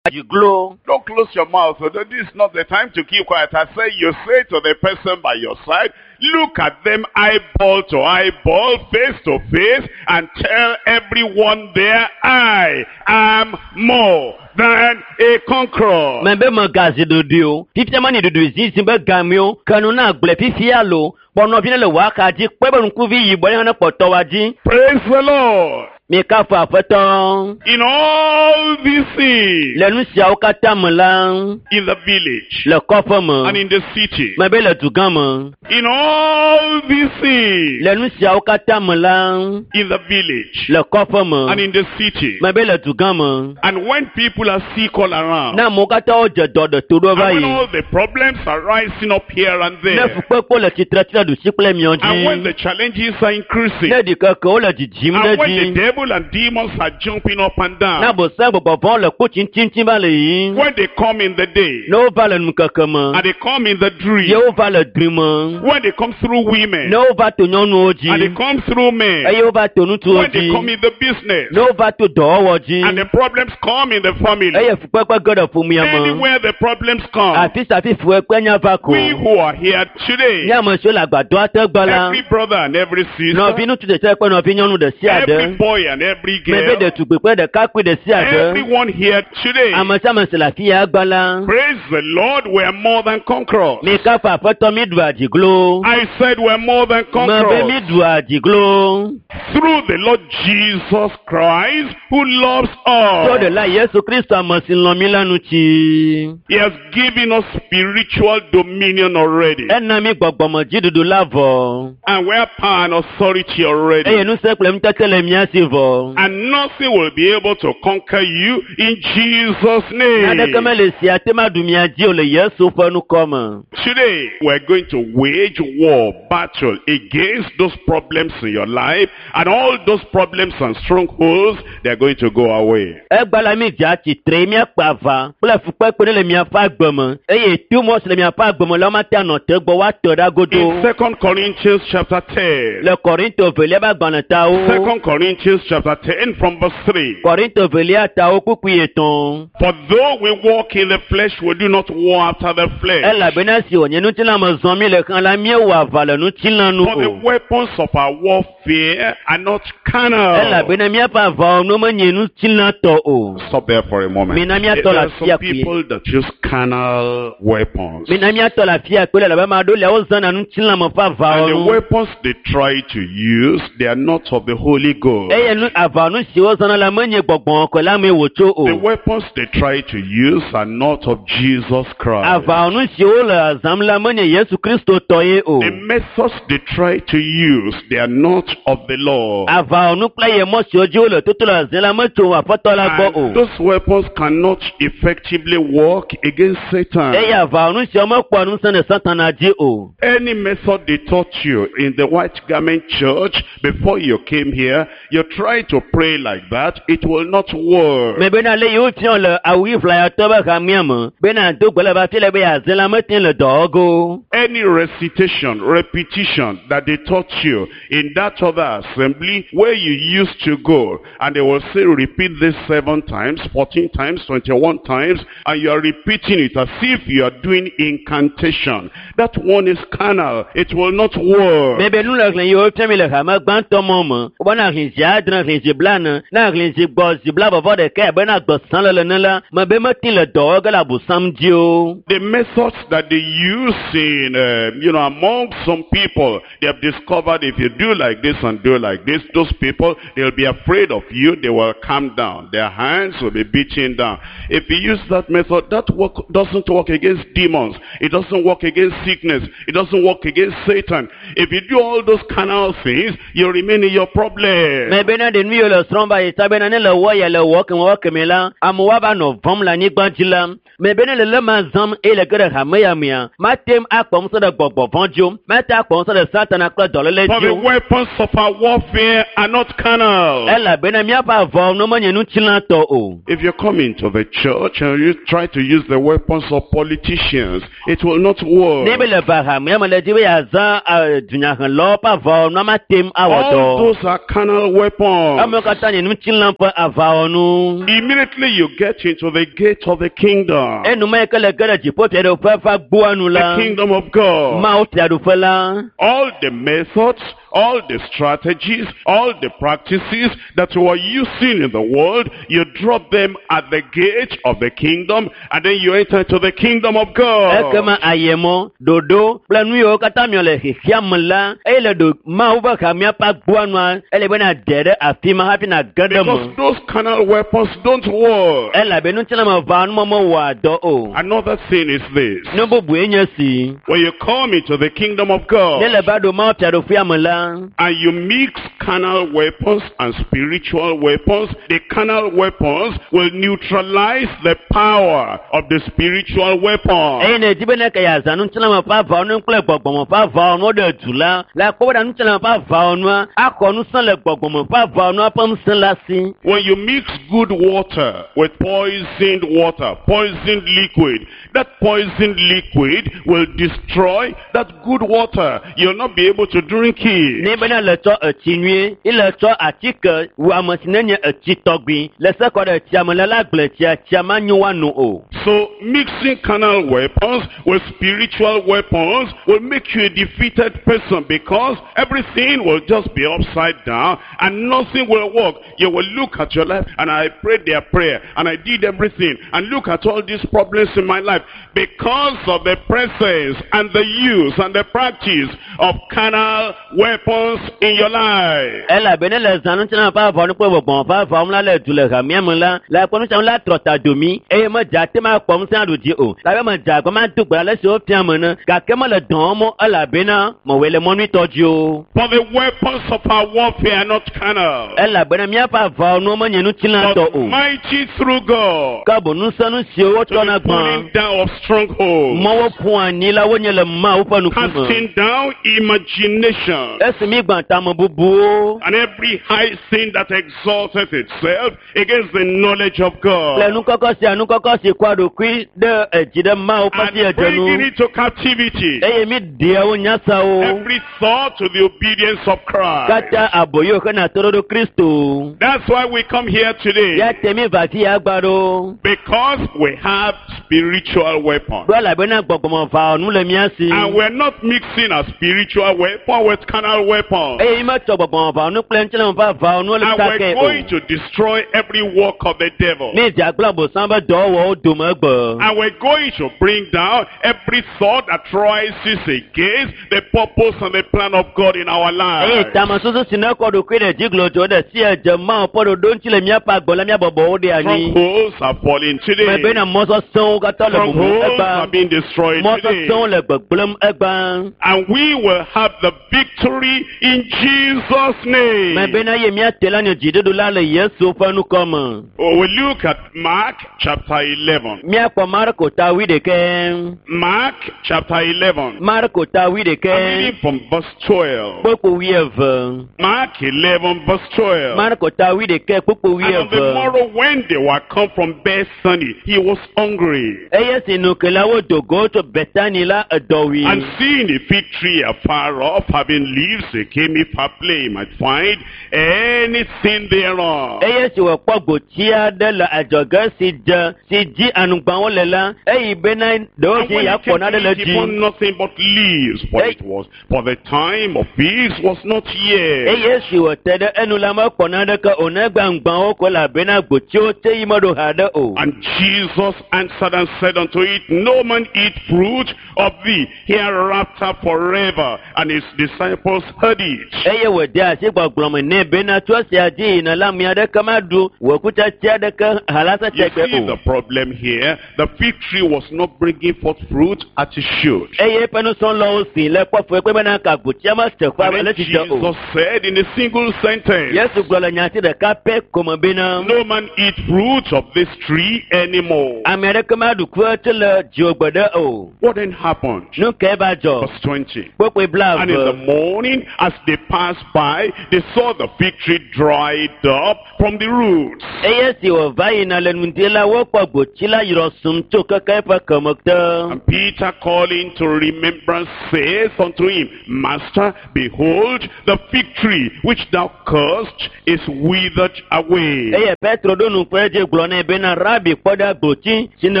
dzi glo. Don't close your mouth. So This is not the time to keep quiet. I say you say to the person by your side, look at them eyeball to eyeball, face to face, and tell everyone there, I am more than a conqueror. Mebe megazi ɖoɖoe o. Fifia mani ɖoɖoe zizi be game o. Ke nu na gblɔe fifia lo. Kpɔ nɔvi ne le wò axa dzi. Kpɔe be ŋkuvi yibɔ ne hã ne kpɔtɔ wa dzi. Praise the Lord. Mi kafu aƒetɔ. In all these things, Le nu siawo katã me la, in the village le kɔƒe and me, in the city, mebe le dugã me. in all these things, Le nu siawo katã me la, in the village le kɔƒe and me, in the city, mebe le dugã me. and when people are sick all around, Ne amewo katã wodze dɔ ɖe to ɖo va And when yi. all the problems are rising up here and Ne there, fukpekpewo le tsitre tsi ɖe ɖusi kple miɔ and when dzi. the challenges are increasing, Ne ɖikekewo le dzidzim ɖe and when the dzi. devil and demons are jumping up and Ne down, abosam gbɔgbɔvɔ̃wo le kpo tsitsitsi va le yiyim. when they come in the day, Ne wova le nukeke me. and they come in the dream, Ye wova le dri me. when they come through women, Ne wova to nyɔnuwo and they dzi. come through men, Eye wova to ŋutsuwo when they dzi. come in the business, Ne wova to dɔwɔwɔ dzi. and the problems come in the family, Eye fukpekpe ge ɖe ƒomea me. anywhere the problems come, Afi sia afi fukpekpe nya va ko. we who are here today, Nye ame siwo le agbadɔa te gbɔ la, every brother and every sister, nɔvi ŋutsu ɖe sia ɖe kple nɔvi nyɔnu ɖe sia every ɖe, boy and every mebe girl, ɖetugbui kple ɖekakpui ɖe sia ɖe, everyone here today, ame sia ame si le afi ya gbɔ la, praise the Lord, we are more than conquerors. mi kafu aƒetɔ mi ɖua dzi glo. I said we are more than Mebe mi conquerors ɖua dzi glo. through the Lord Jesus Christ who loves Tso us. ɖela Yesu Kristo ame si lɔ̃ mi la ŋuti. He has given us spiritual dominion already. Ena mi gbɔgbɔmedziɖuɖu la vɔ. And we have power and authority already. Eye ŋusẽ kple nutete le mía si vɔ. And nothing will be able to conquer you in Jesus' Naneke name. mele sia te maɖu mia dzi o le Yesu ƒe ŋkɔ me. Today, we're going to wage war, battle against those problems in your life, and all those problems and strongholds, they're going to go away. Egba la mi dza tsitre míakpe aʋa kple fukpekpe ɖe le miaƒe agbe me eye tumɔ si le miaƒe agbe me la womate anɔ te gbɔ woatɔ ɖa godo. In Second Corinthians chapter ten, Le Korinto velia ƒe agbalẽ tawo. Second Corinthians chapter ten from verse three. Korinto velia tawo kpukpui etɔ̃. For though we walk in the flesh, we do not war after the flesh. Elabena si wònye ŋutilã me zɔm mi le xlã la míewɔ aʋa le ŋutilã nu For the o. weapons of our warfare are not carnal. Elabena míaƒe aʋawɔnuwo menye ŋutilã tɔ o. Stop there for a moment. Mina There míatɔ le are afia some kpuie. people that use carnal weapons. Mina míatɔ le afia kpuie elabe ame aɖewo lia wozãna ŋutilã me ƒe And the aʋawɔnu. weapons they try to use, they are not of the Holy Ghost. Eye nu aʋawɔnu siwo wozãna la menye gbɔgbɔ kɔkɔe la mee wòtso o. The weapons they try to use are not of Jesus Christ. Aʋawɔnu siwo le zãm la menye Yesu Kristo tɔ ye o. The methods they try to use, they are not of the Lord. Aʋawɔnu kple ye mɔ siwo dzi wole toto le zãm la metso Aƒetɔ la gbɔ And o. those weapons cannot effectively work against Satan. Eye aʋawɔnu siawo mekpɔa ŋusẽ ɖe Satana dzi o. Any method they taught you in the white garment church before you came here, you try to pray like that, it will not work. Mebena le yiwo fiɔ le awu ɣi ʋlayatɔ be hamea me bena do gbe le va fi le be yeaze la mete le dɔ go. Any recitation, repetition that they taught you in that other assembly where you used to go, and they will say repeat this seven times, fourteen times, twenty-one times, and you are repeating it as if you are doing incantation. That one is carnal. It will not work. Mebe nu le hlẽ yiwo fia mi le hame gbãtɔ mɔ me wobena hlẽ zi adre hlẽ zi blaene ne hlẽ zi gbɔ zi blavɔvɔ ɖeka bena gbesã le ene la mebe mete le dɔ wɔ ge le abosam dzi o. The methods that they use in, uh, you know, among some people, they have discovered if you do like this and do like this, those people, they'll be afraid of you. They will calm down. Their hands will be beating down. If you use that method, that work doesn't work against demons. It doesn't work against sickness. It doesn't work against Satan. If you do all those carnal things, you remain in your problem. Mebe Mebena ɖe nu yiwo le srɔ̃m va yi ta bena ne le wɔ ya le wɔ keme wɔ keme la, amewo ava nɔ vɔ̃m le anyigba dzi la. Mebena le le ma zãm eye le ge ɖe hame ya mea, mate ŋu akpɔ ŋusẽ ɖe gbɔgbɔ vɔ̃ dzi o, mate akpɔ ŋusẽ ɖe Satana kple dɔléle For dzi the o. weapons of our warfare are not carnal. Elabena míaƒe avɔwo menye ŋutilãtɔ o. If you come into the church and you try to use the weapons of politicians, it will not work. Ne be le va hamea me le dzi be yeazã eh, dunyahelɔwo ƒe avɔwɔnua mate ŋu awɔ All dɔ. those are carnal weapons. Amewo katã nye ŋutilã ƒe avɔwɔnu. Immediately you get into the gate of the kingdom, Enuma yi ke le ge ɖe dziƒofiaɖuƒe ƒe agboa nu the la, kingdom of God. Mawu fiaɖuƒe la, All the methods, all the strategies, all the practices that you are using in the world, you drop them at the gate of the kingdom and then you enter into the kingdom of God. ekema ayemɔ, ɖoɖo kple nu yiwo katã miɔ le xexea me la, eye le ɖo Mawu ƒe hamea ƒe agboa nua, ele be nàde ɖe afi ma hafi nàge ɖe Because me. those carnal weapons don't work. Elabe ŋutilãmeʋawɔnu mewɔa dɔ o. Another thing is this. Nu bubue nye si, When you come into the kingdom of ne God le va ɖo Mawu fiaɖuƒea me la, and you mix carnal weapons and spiritual weapons, the carnal weapons will neutralize the power of the spiritual weapon. eye ne di be ne ke yeazã ŋutilãme ƒe aʋawɔnu kple gbɔgbɔme ƒe aʋawɔnuwo ɖe du la, le akpɔ be ɖe ŋutilãme ƒe aʋawɔnua axɔ ŋusẽ le gbɔgbɔme ƒe aʋawɔnua ƒe ŋusẽ la si. When you mix good water with poisoned water, poisoned liquid, that poisoned liquid will destroy that good water. You'll not be able to drink it. Ne bena le tsɔ etsi nyuie, ile tsɔ atike wu ame si ne nye etsi tɔgbi le se kɔ ɖe etsia me le la gblẽ tsia, tsia manyo woano o. So mixing carnal weapons with spiritual weapons will make you a defeated person because everything will just be upside down and nothing will work. You will look at your life and I prayed their prayer and I did everything and look at all these problems in my life because of the presence and the use and the practice of carnal weapons in your life. Elabe ne le zã ŋutilãme ƒe aʋawɔnu kple gbɔgbɔme ƒe aʋawɔnu la le du le hamea me la, le akpɔ ŋutilãme la trɔ ta domi eye medza te ma kpɔ ŋusẽ aɖu dzi o. Labe medza agba ma do gbe ale si wofia me ne gake mele dɔ wɔm o elabena mewɔe le mɔ nyuitɔ dzi o. For the weapons of our warfare are not carnal, Elabena míaƒe aʋawɔnuwo menye ŋutilãtɔ but o. mighty through God. Ke boŋ ŋusẽnu siwo To wotrɔna the gbã, pulling down of strongholds, mɔwo ƒu anyi la wonye le Mawu ƒe ŋkume. casting down imagination, Esi mi gbã tamebubuwo and every high thing that exalteth itself against the knowledge of kple God, nukɔkɔ sia nukɔkɔ si kɔa ɖokui ɖe edzi ɖe Mawu ƒe and siedzenu bringing into captivity eye mi ɖea wo nyasawo every thought to the obedience of Christ. katã aboyo hena toɖoɖo Kristo. That's why we come here today, Ya te mi va fi ya gba ɖo. because we have spiritual weapons. Ɖo elabena gbɔgbɔmeʋawɔnu le mía si. And we're not mixing a spiritual weapon with carnal weapons. Eye mi metsɔ gbɔgbɔmeʋawɔnu kple ŋutilãme ƒe aʋawɔnuwo le And we're sake o. going to destroy every work of the devil. Mi dze agblɔ abosam be dɔwɔwɔwo dome egbe. And we're going to bring down every thought that rises against the purpose and the plan of God in our Eye lives. tamesusu si ne kɔ ɖokui ɖe dzi glodzo ɖe si edze Mawu ƒe ɖoɖo ŋuti le míaƒe agbe la míabɔbɔ wo ɖe anyi. Strongholds are falling today. Mebena mɔ sesẽwo katã le mumu Strongholds egba. are being destroyed Mɔ today. sesẽwo le gbegblẽm egba. And we will have the victory in Jesus' name. Mebena ye míate la nye dziɖuɖu la le Yesu ƒe ŋkɔ me. Oh, we look at Mark chapter eleven. Míakpɔ Marko ta wuiɖekɛ. Mark chapter eleven. Marko ta wuiɖekɛ. I'm reading from verse twelve. Kpukpu wuieve. Mark eleven verse twelve. Marko ta wuiɖekɛ kpukpu And on the wuieve. morrow when they were come from Bethany, he was hungry. Eye si nukelawo do go tso Betani la edɔ wui. And seeing a fig tree afar off, having leaves, he came if haply he might find anything thereon. Eye si wòkpɔ gboti aɖe le adzɔge si dze si dzi anugbawo le la, eyi bena And ɖewohĩ when he yeakpɔ came nane to le it, he dzi. found nothing but leaves, for Hey. it was, for the time of figs was not yet. Eye si wòte ɖe enu la mekpɔ naneke o negbe aŋgbawo ko elabena gbotiwo te yi meɖo haɖe o. And Jesus answered and said unto it, No man eat fruit of thee hereafter forever. And his disciples heard it. Eye wòde asi gbɔgblɔ me nɛ bena tso esia dzi yina la ame aɖeke maɖu wò kutsetse aɖeke halase You tegbe see o. the problem here. The fig tree was not bringing forth fruit as it should. Eye eƒe nusrɔ̃lawo si le kpɔ fue kpe bena ka gbotsia mese ƒe And then ale tsi dze o. Jesus said in a single sentence, Yesu gblɔ le nyati ɖeka pɛ ko me bena No man eat fruit of this tree anymore. ame aɖeke maɖu kutsetse le dziwò gbeɖe o. What then happened? Nu kae va dzɔ? Verse twenty. Kpokpoe blaeve. And in the morning, as they passed by, they saw the fig tree dried up from the roots. Eye si wòva yina le ŋdi la wokpɔ gbotsi la yrɔ sum tso keke eƒe keme te. And Peter, calling to remembrance, says unto him, Master, behold, the fig tree which thou cursed is withered away. Eye Petro ɖo nu kple edzi gblɔ nɛ bena Rabi kpɔ ɖa gbotsi si ne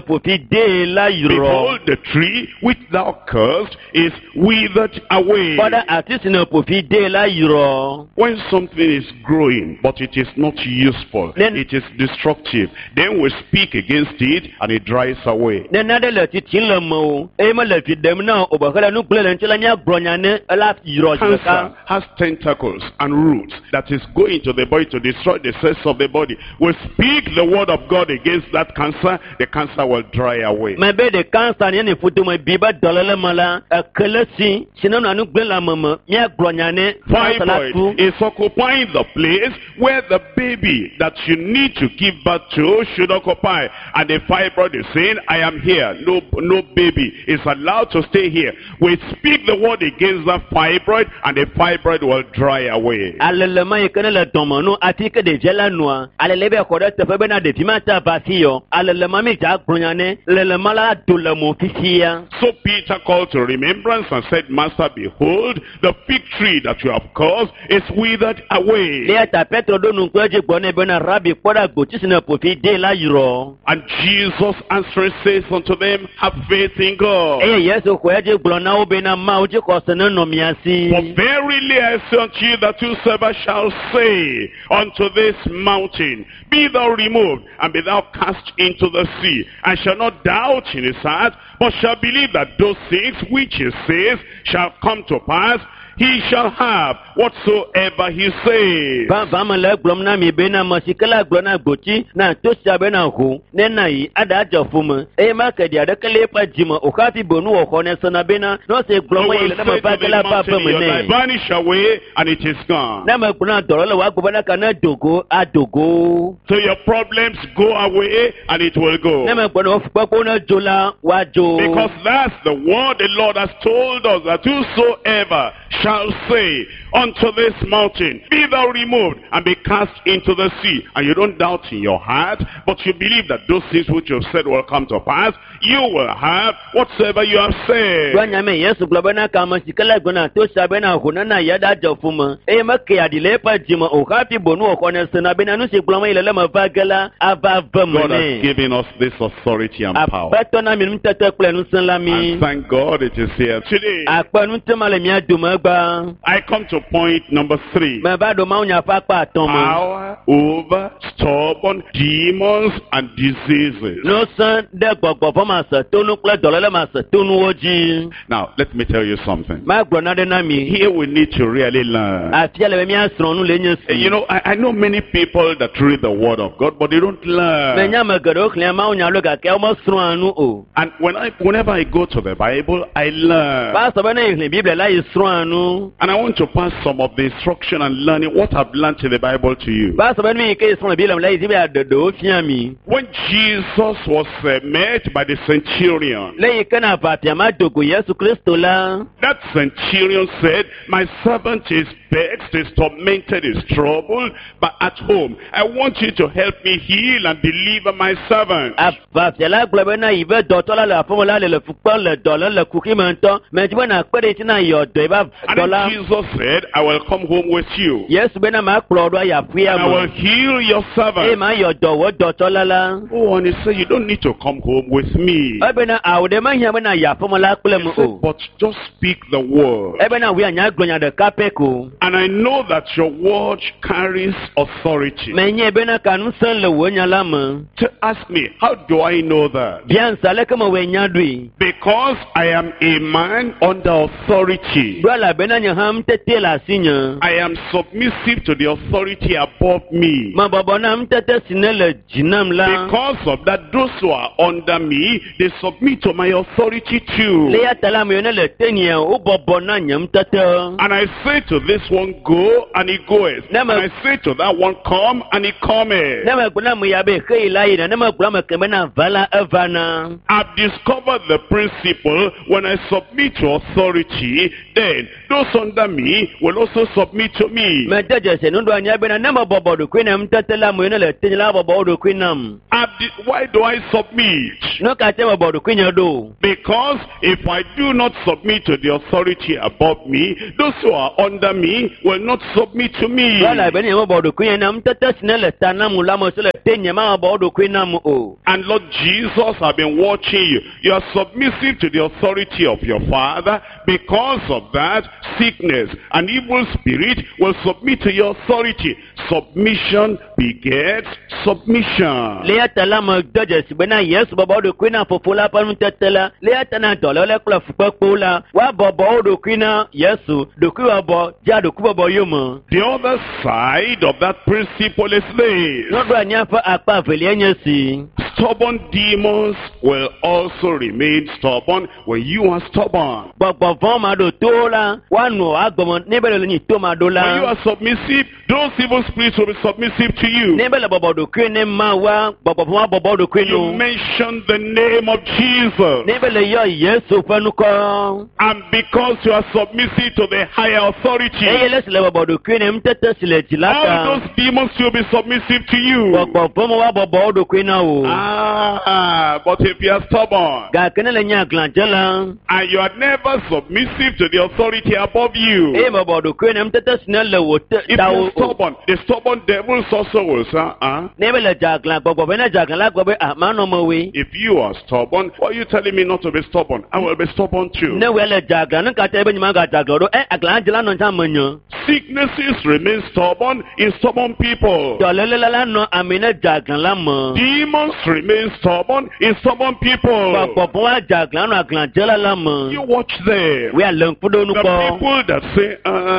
ƒo fi dee la yrɔ. Behold, the tree which thou cursed is withered away. Kpɔ ɖa ati si ne ƒo fi dee la yrɔ. When something is growing, but it is not useful, Then- it is destructive, then we speak against it and it dries away. Ne nane le tsitsim le mewò eye mele vi ɖem na wò o be hele nu gblẽ le ŋuti la míagblɔ nya ne ela yrɔ zi ɖeka. Cancer has tentacles and roots that is going to the body to destroy the cells of the body. We speak the word of God against that cancer, the cancer will dry away. Mebe ɖe kansa nye ne ƒodome bi be dɔléle me la ekele si si ne nɔa nu gblẽ le ame me míagblɔ nya ne kansa la tu. Fibroid is occupying the place where the baby that you need to give birth to should occupy. And the fibroid is saying, I am here. No, no baby is allowed to stay here. We speak the word against that fibroid and the fibroid will dry away. Alele ma yi ke ne le dɔme nu ati ke ɖevia la nua alele be xɔ ɖe teƒe bena ɖevi ma ta va fi yɔ alele ma mi dza gblɔ nya ne lele ma la do le mo fifia. So Peter called to remembrance and said, Master, behold, the fig tree that you have caused is withered away. Eya ta Petro ɖo nu kple edzi gblɔ nɛ bena Rabi kpɔ ɖa gbotsi si ne ƒo fi dee la yrɔ. And Jesus answering says unto them, Have faith in God. Eye Yesu xɔ edzi gblɔ na wo bena Mawu dzixɔse nenɔ mia si. For verily I say unto you that whosoever shall say unto this mountain, Be thou removed, and be thou cast into the sea, and shall not doubt in his heart, but shall believe that those things which he says shall come to pass, he shall have whatsoever he says. Vavã me le egblɔm na mi bena ame si ke la gblɔ na gbotsi na to sia bena ho ne na yi aɖa adze ƒome eye make ɖi aɖeke le eƒe dzime o hafi bo nuwɔxɔ ne sena bena ne ɔse gblɔ So me yi will le ne say me va to ge the la va mountain ve in me your life, nɛ. Vanish away, and it is gone. Ne me gblɔ na dɔlɔ le wòagblɔ bena ka ne dogo adogo. So your problems go away, and it will go. Ne me gblɔ na wo fukpekpewo ne dzo la woadzo. Because that's the word the Lord has told us, that whosoever shall say unto this mountain, Be thou removed and be cast into the sea. And you don't doubt in your heart, but you believe that those things which you have said will come to pass, you will have whatsoever you have said. Gblɔ nya me Yesu gblɔ bena ka ame si ke la gblɔ na to sia bena ho ne na yi aɖa adze ƒome eye meke aɖi le eƒe dzime o hafi bo nuwɔxɔ ne sena bena nu si gblɔm yi le le me va ge la ava ve me God has nɛ. given us this authority and power. Aƒetɔ na mi nutete kple ŋusẽ la mi. And thank God it is here today. Akpe nutema le mía dome gbã. I come to point number three. Meva ɖo mawunya ƒe akpa atɔ̃ me. Power over stubborn demons and diseases. Ŋusẽ ɖe gbɔgbɔvɔ masetonu kple dɔléle masetonuwo dzi. Now, let me tell you something. Magblɔ naɖe na mi. Here we need to really learn. Afia le be míasrɔ̃ nu le nye si. You know, I, I know many people that read the Word of God, but they don't learn. Menya ame geɖewo xlẽa mawunya lo gake womesrɔ̃a nu o. And when I, whenever I go to the Bible, I learn. Va sɔ be ne yi xlẽ Biblia la yi srɔ̃a nu. And I want to pass some of the instruction and learning what I've learned in the Bible to you. Va sɔ be nu yi ke yi srɔ̃ le Biblia me la yi di be yeaɖe ɖewo fia mi. When Jesus was uh, met by the centurion, Le yi ke na aʋafia ma do go Yesu Kristo la, that centurion said, My servant is vexed, is tormented, is troubled, but at home, I want you to help me heal and deliver my servant. aʋafia la gblɔ bena yi be dɔtɔ la le aƒeme la le le fu kpem le dɔ lém le kuxi me ŋutɔ. Medi be nakpe ɖe ŋuti na yɔ dɔe be And dɔ la. then Jesus said, I will come home with you. Yesu bena makplɔ ɖo ayi aƒea And I will me. heal your Eye servant. mayɔ dɔ wò dɔtɔ la la. Oh, and he said, You don't need to come home with me. Ebena awu ɖe mehiã bena yi aƒeme la kple He me said, o. but just speak the word. Ebena wòe anya gblɔ nya ɖeka pɛ ko. And I know that your word carries authority. Menye bena ka ŋusẽ le wò nya la me. To ask me, how do I know that? Bia ŋsa leke mewɔe nya ɖoe. Because I am a man under authority. Ɖo elabena nye hã ŋutete le asinye. I am submissive to the authority above me. Mebɔbɔ na ŋutete si ne le dzi nam la. Because of that, those who are under me, they submit to my authority too. Le ya ta la ame yiwo ne le tenye wobɔbɔ na nye ŋutete. And I say to this one, go, and he goeth. And Never- I say to that one, come, and he cometh. Ne megblɔ na ame ya be xe yi la yina, ne megblɔ ame keme na va la evana. I've discovered the principle when I submit to authority, then those under me will also submit to me. Mede dzesi nuɖoanyia bena ne mebɔbɔ ɖokui na ŋutete la ame yiwo ne le tenye la bɔbɔ wo ɖokui nam. I've di- why do I submit? Nu ka te mebɔ ɖokuinye ɖo? Because if I do not submit to the authority above me, those who are under me will not submit to me. Ɖo elabena nye mebɔ ɖokuinye na ŋutete si ne le ta nam la ame siwo le tenye mabɔbɔ wo ɖokui nam o. And Lord Jesus, I've been watching you. You are submissive to the authority of your Father. Because of that, sickness and evil spirit will submit to your authority. Submission begets submission. Le ya ta la mede dzesi bena Yesu bɔbɔ wo ɖokui na fofo la ƒe nutete la, le ya ta na dɔléle kple fukpekpewo la, woabɔbɔ wo ɖokui na Yesu, ɖokuibɔbɔ dzea ɖokuibɔbɔ yome. The other side of that principle is this. Nuɖoanyia ƒe akpa evelia nye si. Stubborn demons will also remain stubborn when you are stubborn. Gbɔgbɔ vɔ̃ maɖotowo la, woanɔ agbɔme ne be le nyi to maɖo When you la. are submissive, those evil spirits will be submissive to you. Ne be le bɔbɔ ɖokui ne Mawua, gbɔgbɔ vɔ̃ woabɔbɔ wo ɖokui You nu. mention the name of Jesus. Ne be le yɔ Yesu ƒe ŋkɔ. And because you are submissive to the higher authority, Eye le si le bɔbɔ ɖokui ne ŋutete si le dzi la all ta. those demons will be submissive to you. Gbɔgbɔ vɔ̃ woabɔbɔ wo ɖokui na wò. Ah, but if you are stubborn Gake ne le nye aglãdzela, and you are never submissive to the authority above you, eye mebɔ ɖokui ne ŋutete si ne le wò te if you ta are wò o. stubborn, the stubborn devils also will say, ah, Ne be le dze aglã, gbɔgbɔ vɔ̃ ne dze aglã la gblɔ be ah manɔ mewoe. if you are stubborn, why are you telling me not to be stubborn? I will be stubborn too. Ne wòe le dze aglã, nu ka ta be nye magadze aglã ɖo? Ɛ aglãdzela nɔ tsã menye. Sicknesses remain stubborn in stubborn people. Dɔléle la la nɔ ame ne dze aglã la me. Demons remain stubborn in stubborn people. Gbɔgbɔ vɔ̃ woadze aglã nɔ aglãdzela la me. You watch them. Wòe le ŋku ɖo nu The kpɔ. people that say,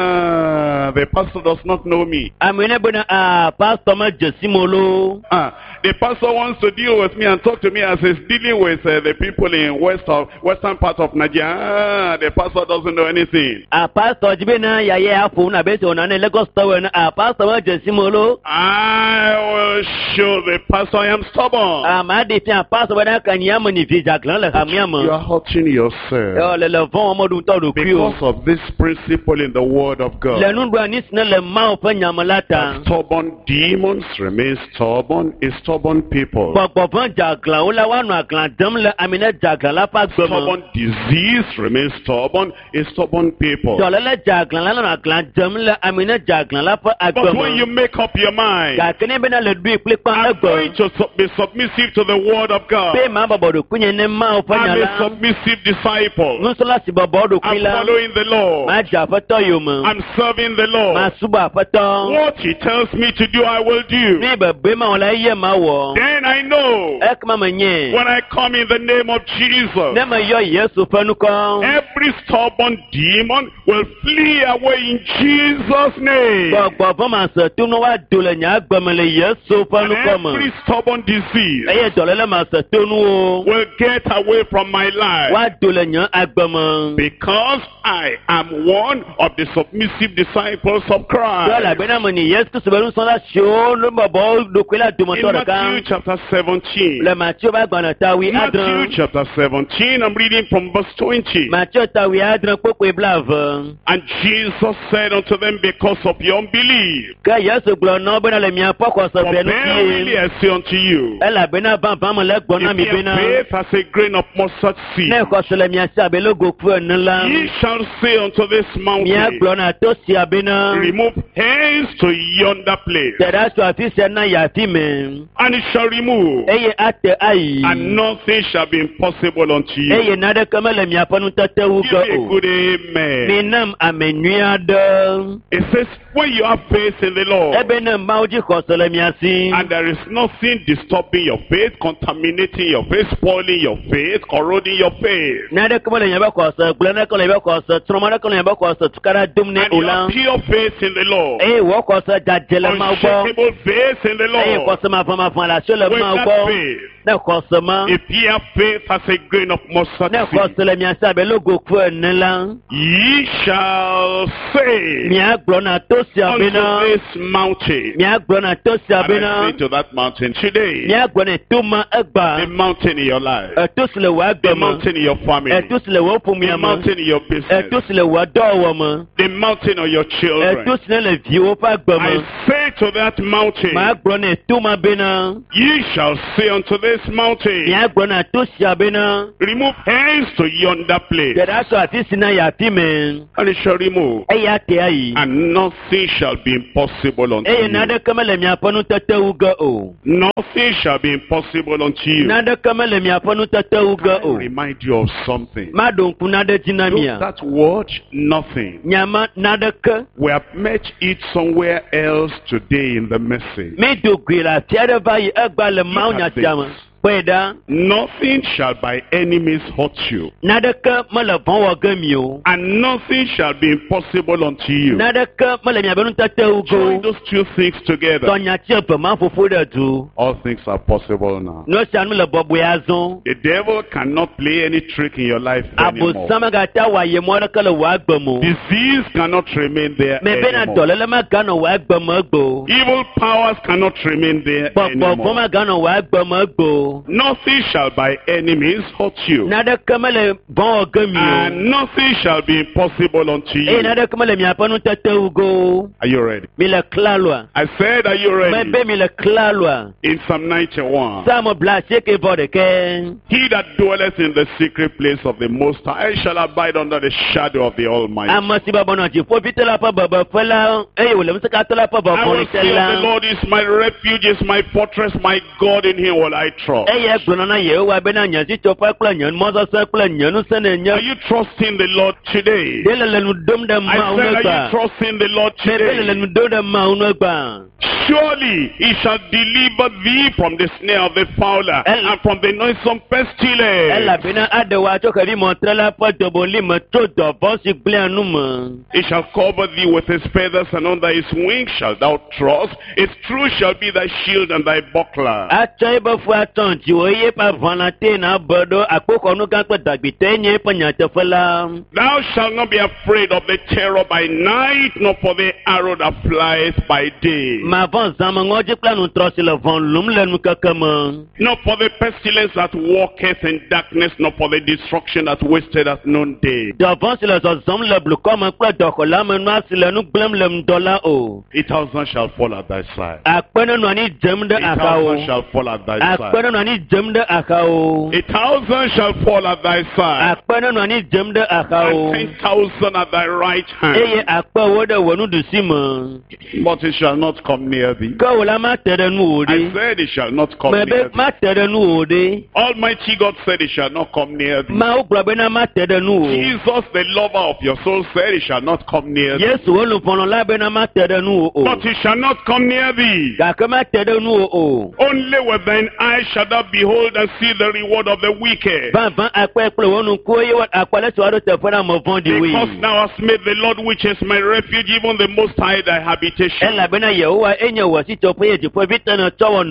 ah, the pastor does not know me. Ame ne bena ah pastor medze si mo loo. Ah, the pastor wants to deal with me and talk to me as he's dealing with uh, the people in west of, western part of Nigeria. Ah, the pastor doesn't know anything. Ah pastor dzi bena yaya aƒo nu abe esi wònɔ ne Lagos tɔwo ene. Ah pastor medze si mo loo. I will show the pastor I am stubborn. Ame aɖe fia pastor bena ka nye ame ni vi dze aglã le hamea me. You are hurting yourself Ɔ le le vɔ̃ wɔm ɖu ŋutɔ ɖokui o. because of this principle in the word of God. Le nuɖoanyi si ne le Mawu ƒe nyame la ta. Stubborn demons remain stubborn in stubborn people. Gbɔgbɔ vɔ̃ dze aglãwo la woanɔ aglã dem le ame ne dze aglã la ƒe agbe me. Stubborn disease remains stubborn in stubborn people. Dɔléle dze aglã la nɔ aglã dem le ame ne dze aglã la ƒe agbe But when you me. make up your mind, Gake ne bena le ɖoe kplikpa I'm egbe. going to sub- be submissive to the word of God. Be ma bɔbɔ ɖokuinye ne Mawu ƒe nya I'm a la. submissive disciple. Nusrɔ̃la si bɔbɔ ɖokui I'm la. following the Lord. Madze aƒetɔ yome. I'm serving the Lord. Masubɔ aƒetɔ. What he tells me to do, I will do. Ne bebe ma wɔ la eye ma wɔ. Then I know Ekema menye. when I come in the name of Jesus, Ne meyɔ Yesu ƒe ŋkɔ. every stubborn demon will flee away in Jesus' name. Gbɔgbɔ vɔ̃ ma se to ne woado le nye agbe me le Yesu ƒe And ŋkɔ me. every stubborn disease Eye dɔléle ma se to nuwo. will get away from my life. Woado le nye agbe me. Because I am one of the submissive disciples of Ɖo Christ. elabena menye Yesu Kristo be nusrɔ̃la siwo ne bɔbɔ wo ɖokui la In dometɔ Matthew ɖeka. chapter seventeen. Le Mateo ƒe agbalẽ ta wui Matthew adre. chapter seventeen, I'm reading from verse twenty. Mateo ta wui adre kpokpoe blaeve. And Jesus said unto them, because of your unbelief, Ke Yesu gblɔ na wo bena le miaƒe xɔse for ʋɛ verily ŋuti. I say unto you, Elabena vavã mele egblɔ na if mi ye have bena. faith as a grain of mustard seed, Ne xɔse le mia si abe logoku ene la. ye shall say unto this mountain, Míagblɔ na to sia bena. bena Remove hence to yonder place. Te ɖa tso afi sia na yi afi me. And it shall remove. Eye ate ayi. And nothing shall be impossible unto you. Eye naneke mele miaƒe nutete wu Give ge me a o. good amen. Minam ame nyui aɖe. It says, when you have faith in the Lord, Ebe ne Mawu dzi xɔse le mia si. and there is nothing disturbing your faith, contaminating your faith, spoiling your faith, corroding your faith. Naneke mele miaƒe xɔse gblẽ, naneke le miaƒe xɔse trɔm, naneke le miaƒe xɔse tukaɖa dom nɛ And o you la. have pure faith in the Lord, Eye wò xɔse dzadze le Mawu gbɔ. unshakable faith in the Eye Lord. xɔse mavɔmavɔ le asiwò le With Mawu that gbɔ. faith, Ne xɔse ma, if ye have faith as a grain of mustard ne seed, xɔse le mia si abe logoku ene la, ye shall say miagblɔ na to sia unto bena, this mountain. miagblɔ na to sia And I bena, say to that mountain today, miagblɔ ne to ma the egba, mountain in your life, eto si le wò the agbe me, mountain in your family, eto si le wò the ƒomea me, mountain in your business, eto si le wò dɔwɔwɔ me, the mountain of your children. eto si ne le viwò ƒe agbe I me. say to that mountain, Magblɔ ne to ma bena, ye shall say unto this mountain, miagblɔ na to sia bena, remove hence to yonder place, te ɖa tso afi si na yi afi me, and it shall remove, eya te ayi. and nothing shall be impossible unto Eye you. naneke mele miaƒe nutete wu ge o. Nothing shall be impossible unto you. Naneke mele miaƒe nutete wu ge I o. remind you of something. Maɖo ŋku naɖe dzi na Look, mia. that word, nothing. Nyama naneke. We have met it somewhere else today in the message. Mi do goe le afi aɖe va yi egba le Mawu Look nya at sia me. this. Kpɔe ɖa. Nothing shall by any means hurt you, Naneke mele vɔ̃ wɔ ge mi o. and nothing shall be impossible unto you. Naneke mele miaƒe nutete wu ge Join o. those two things together. Tɔ nyati eve ma ƒoƒo ɖe du. All things are possible now. Nu sia nu le bɔbɔe azɔ. The devil cannot play any trick in your life anymore. Abosam megate wɔ ayemɔ aɖeke le wò agbe me o. Disease cannot remain there Mebena anymore. dɔléle meganɔ wò agbe me egbe o. Evil powers cannot remain there Gbɔgbɔ vɔ̃ anymore. meganɔ wò agbe me egbe o. Nothing shall by any means hurt you, Naneke mele vɔ̃ wɔ ge mi o. and nothing shall be impossible unto Eye you. naneke mele miaƒe nutete wu ge o. Are you ready? Mi le klaloa. I said, are you ready? Mebe mi le klaloa. In Psalm ninety-one, Psalm bla asieke vɔ ɖekɛ. he that dwelleth in the secret place of the Most High shall abide under the shadow of the Almighty. Ame si bɔbɔ nɔ dziƒoʋĩtɔ la ƒe bebeƒe la eye wòle ŋusẽkatã la ƒe I will vɔvɔli te say of la. the Lord is my refuge, is my fortress, my God, in him will I trust. Eye gblɔna na Yehowa bena nye zitsoƒe kple nye mɔ sesẽ kple nye ŋusẽ nenye. Are you trusting the Lord today? Ɖe le le nu ɖom ɖe I Mawu said, nu are you egbea? trusting the Lord Mebe le le today? nu ɖom ɖe Mawu nu egbea. Surely he shall deliver thee from the snare of the fowler El- and from the noisome pestilence. Elabena aɖe wò atso xevimɔtre la ƒe doboli me tso dɔvɔ̃ si gblẽa nu me. He shall cover thee with his feathers, and under his wings shalt thou trust. His truth shall be thy shield and thy buckler. Atsɔ eƒe fu atɔ dziwò eye eƒe aʋalã tee na be ɖo akpoxɔnu gã kple dagbitɔe nye eƒe nyateƒe la. Thou shalt not be afraid of the terror by night, nor for the arrow that flieth by day, Mavɔ̃ zãmeŋɔdzi kple aŋutrɔ si le vɔ̃ lum le nukeke me. nor for the pestilence that walketh in darkness, nor for the destruction that wasteth at noonday. Dɔvɔ̃ si le zɔzɔm le blukɔ me kple dɔxɔleamenua si le nu gblẽm le ŋdɔ la o. A thousand shall fall at thy side. Akpe nenɔ anyi dzem ɖe A axawo. thousand shall fall at thy Akpe side. nenɔ anyi dzem ɖe axawo. A thousand shall fall at thy side, Akpe nenɔ anyi dzem ɖe axawo. and ten thousand at thy right Eye hand. akpe wo ɖe wò nuɖusi me. But it shall not come near thee. Ke wò la mate ɖe nuwò I ɖe. said it shall not come Mebe near thee. mate ɖe nuwò ɖe. Almighty God said it shall not come near thee. Mawu gblɔ bena mate ɖe nuwò. Jesus, the lover of your soul, said it shall not come near thee. Yesu wo luvɔlɔ la bena mate ɖe nuwò o. But it shall not come near thee. Gake mate ɖe nuwò o. Only with thine eyes shalt thou behold and see the reward of the wicked. Vavã akpɔe kple wò ŋkuwo eye wò- akpɔ ale si woaɖo teƒe na ame vɔ̃ɖiwoe. Because thou hast made the Lord, which is my refuge, even the Most High, thy habitation. Elabena Yehowa enye wò sitsoƒe eye dziƒoʋĩtɔ nètsɔ wɔ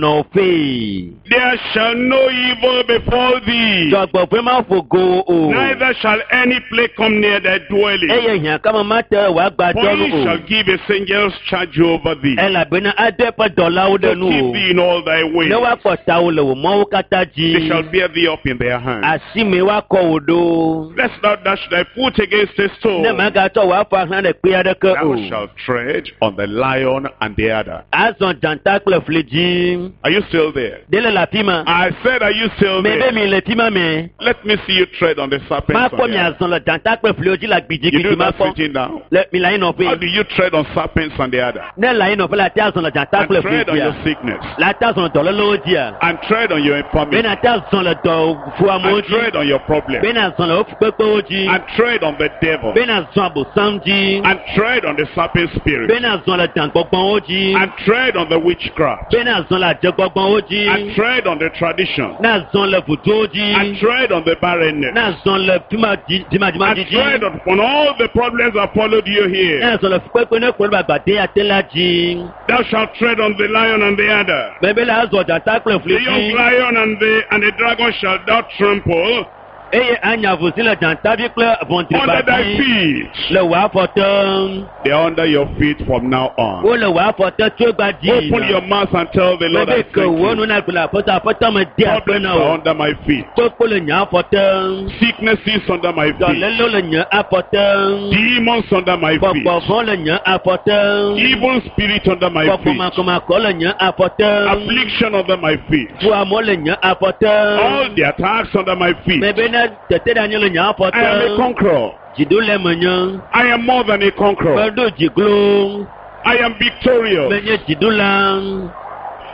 nɔƒee. There shall no evil befall thee, Dzɔgbevɔ̃e maƒo go wò o. neither shall any plague come near thy dwelling. Eye hiãkame mate wò For agbadɔ he nu shall o. give his angels charge over thee, Elabena ado eƒe dɔlawo to ɖe nu keep o. thee in all thy ways. Ne woakpɔ tawò le wò mɔwo katã They dzi. shall bear thee up in their hands. Asi me woakɔ wò ɖo. Lest thou dash thy foot against a Ne stone. mègatsɔ wò afɔ ahlã ɖe kpe aɖeke Thou o. shalt tread on the lion and the adder. Azɔ dzata kple fli dzi. Are you still there? Ɖe le le afi ma. I said, are you still Me be there? mi le fi ma me. Let me see you tread on the serpents. Makpɔ and mi the adder. azɔ le dzata kple fliwo dzi le You do gbidigbidi that makpɔ. sitting down. Le mi le anyi How nɔƒe. do you tread on serpents and the adder? Ne le anyi nɔƒe la te azɔ le dzata And kple fli tread on your dzia. sickness. La te azɔ le dɔlélewo dzia. And tread on your infirmity. Bena te azɔ le dɔfuamewo And dzi. tread on your problem. Bena zɔ le wo fukpekpewo dzi. And tread on the devil. Bena zɔ abosam dzi. And tread on the serpent spirit. Bena zɔ le dãgbɔgbɔwo dzi. And tread on the witchcraft. Bena zɔ le adzegbɔgbɔwo dzi. And tread on the tradition. Na zɔ le vudowo And dzi. tread on the barrenness. Na zɔ le fima- And dzimadzimadzi tread dzi. upon all the problems that followed you here. Na zɔ le fukpekpe ne kplɔ ɖe agbade ya te la dzi. Thou shalt tread on the lion and the adder. Mebe la azɔ dzata kple fli The young dzi. lion and the and the dragon shall thou trample Eye anya vuzi le dzatavi kple under ʋɔntriba thy dzi. feet. Le wò afɔ te. They are under your feet from now on. Wole wò afɔ te tso egba dzi. Open your mouth and tell the Lord I Mebe ke thank wò you. nu na gblɔ aƒetɔ aƒetɔ me de akpe Problems na are wò. under my feet. Kpokpo le nye afɔ te. Sicknesses under my feet. Dɔlélewo le nye afɔ te. Demons under my feet. Gbɔgbɔvɔ le nye afɔ te. Evil spirit under my Gbɔgbɔ feet. makɔmakɔ le nye afɔ te. Affliction under my feet. Fuamewo le nye afɔ te. All the attacks under my feet. Mebe na tete ɖe anyi le nye afɔ I am a te. conqueror. Dziɖule menye. I am more than a conqueror. Meɖo dziglo. I am victorious. Menye dziɖula.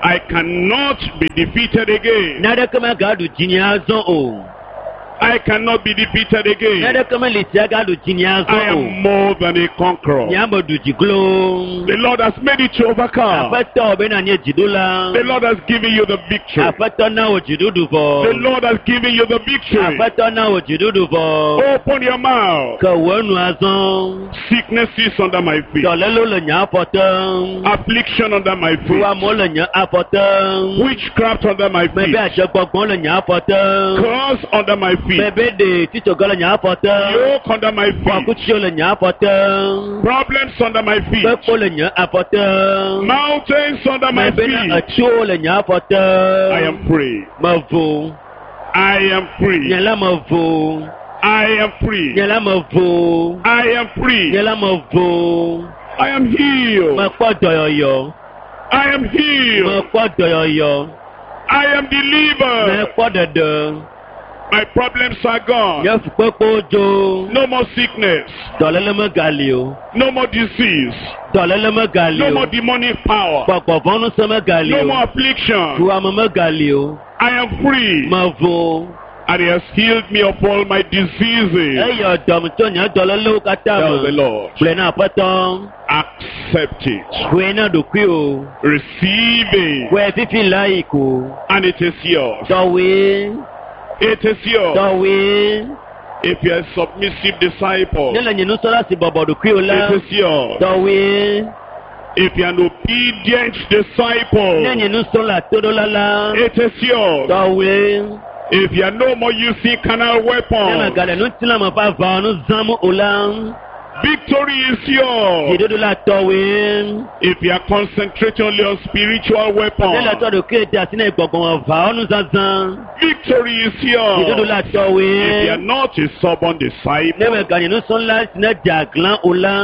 I cannot be defeated again. Naneke megaɖu dzinye azɔ o. I cannot be defeated again. Naneke meli sia gaɖu dzinye I azɔ o. am more than a conqueror. Nye ame ɖu dziglo. The Lord has made it to overcome. Aƒetɔ bena nye dziɖula. The Lord has given you the victory. Aƒetɔ na wò dziɖuɖu The vɔ. Lord has given you the victory. Aƒetɔ na wò dziɖuɖu vɔ. Open your mouth. Ke wò nu azɔ. Sicknesses under my feet. Dɔlélewo le nye afɔ te. Affliction under my feet. Fuamewo le nye afɔ te. Witchcraft under my Mebe feet. adzegbɔgbɔ le nye afɔ te. Curse under my feet. Mebe ɖe titsoge le nye afɔ te. Yoke under my feet. Kɔkutsiwo le nye afɔ te. Problems under my feet. Kpekpo le nye afɔ te. Mountains under my Mebe na feet. etsiwo le nye afɔ te. I am free. Mevo. I am free. Nye la mevo. I am free. Nye la mevo. I am free. Nye la mevo. I am healed. Mekpɔ dɔyɔyɔ. I am healed. Mekpɔ dɔyɔyɔ. I am delivered. Mekpɔ ɖeɖe. My problems are gone. Nye fukpekpewo dzo. No more sickness. Dɔléle megali o. No more disease. Dɔléle megali No o. more demonic power. Gbɔgbɔvɔ̃ŋusẽ megali No o. more affliction. Fuame megali o. I am free. Mevo. And he has healed me of all my diseases. Eye dɔm tso nye dɔlélewo katã Tell the me. Lord. Gblɔe na Aƒetɔ. Accept it. Xɔe na ɖokuiwò. Receive it. Xɔe fifi la yi ko. And it is yours. Tɔwoe. It is yours. Tɔwoe. If you are a submissive disciple, Ne le nye nusrɔ̃la si bɔbɔ ɖokuiwò la. it is yours. Tɔwoe. If you are an obedient disciple, Ne nye nusrɔ̃la toɖola la. it is yours. Tɔwoe. If you are no more using carnal Ne weapons, megale ŋutilãme ƒe aʋawɔnu zãm o la. victory is yours. Dziɖuɖu la tɔwoe. If you are concentrating only on spiritual Ne le weapons, tɔ ɖokuiwò de asi na gbɔgbɔmeʋawɔnu zazã. victory is Dziɖuɖu yours. la If you tɔwoe. are not a stubborn Ne disciple, meganye nusrɔ̃la si ne dze aglã o la.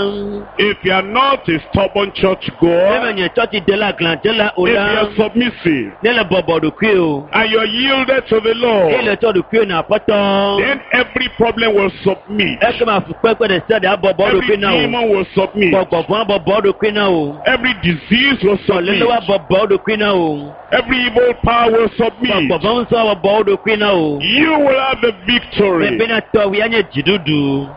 if you are not a stubborn church Ne goer, menye tsɔtsidela aglãdzela o if you la. are submissive Ne le bɔbɔ ɖokuiwò. and you are yielded to the Eye Lord, le tɔ ɖokuiwò na Aƒetɔ. then every problem will submit. Ekema fukpekpe ɖe sia ɖe abɔbɔ Every ɖokui na wò. demon will submit. Gbɔgbɔvɔ̃ abɔbɔ ɖokui na wò. Every disease will submit. Dɔlélewo abɔbɔ ɖokui na wò. Every evil power will submit. Gbɔgbɔvɔ̃ ŋusẽ abɔbɔ ɖokui na wò. You will have the victory. Mebena tɔwòe anye dziɖuɖu.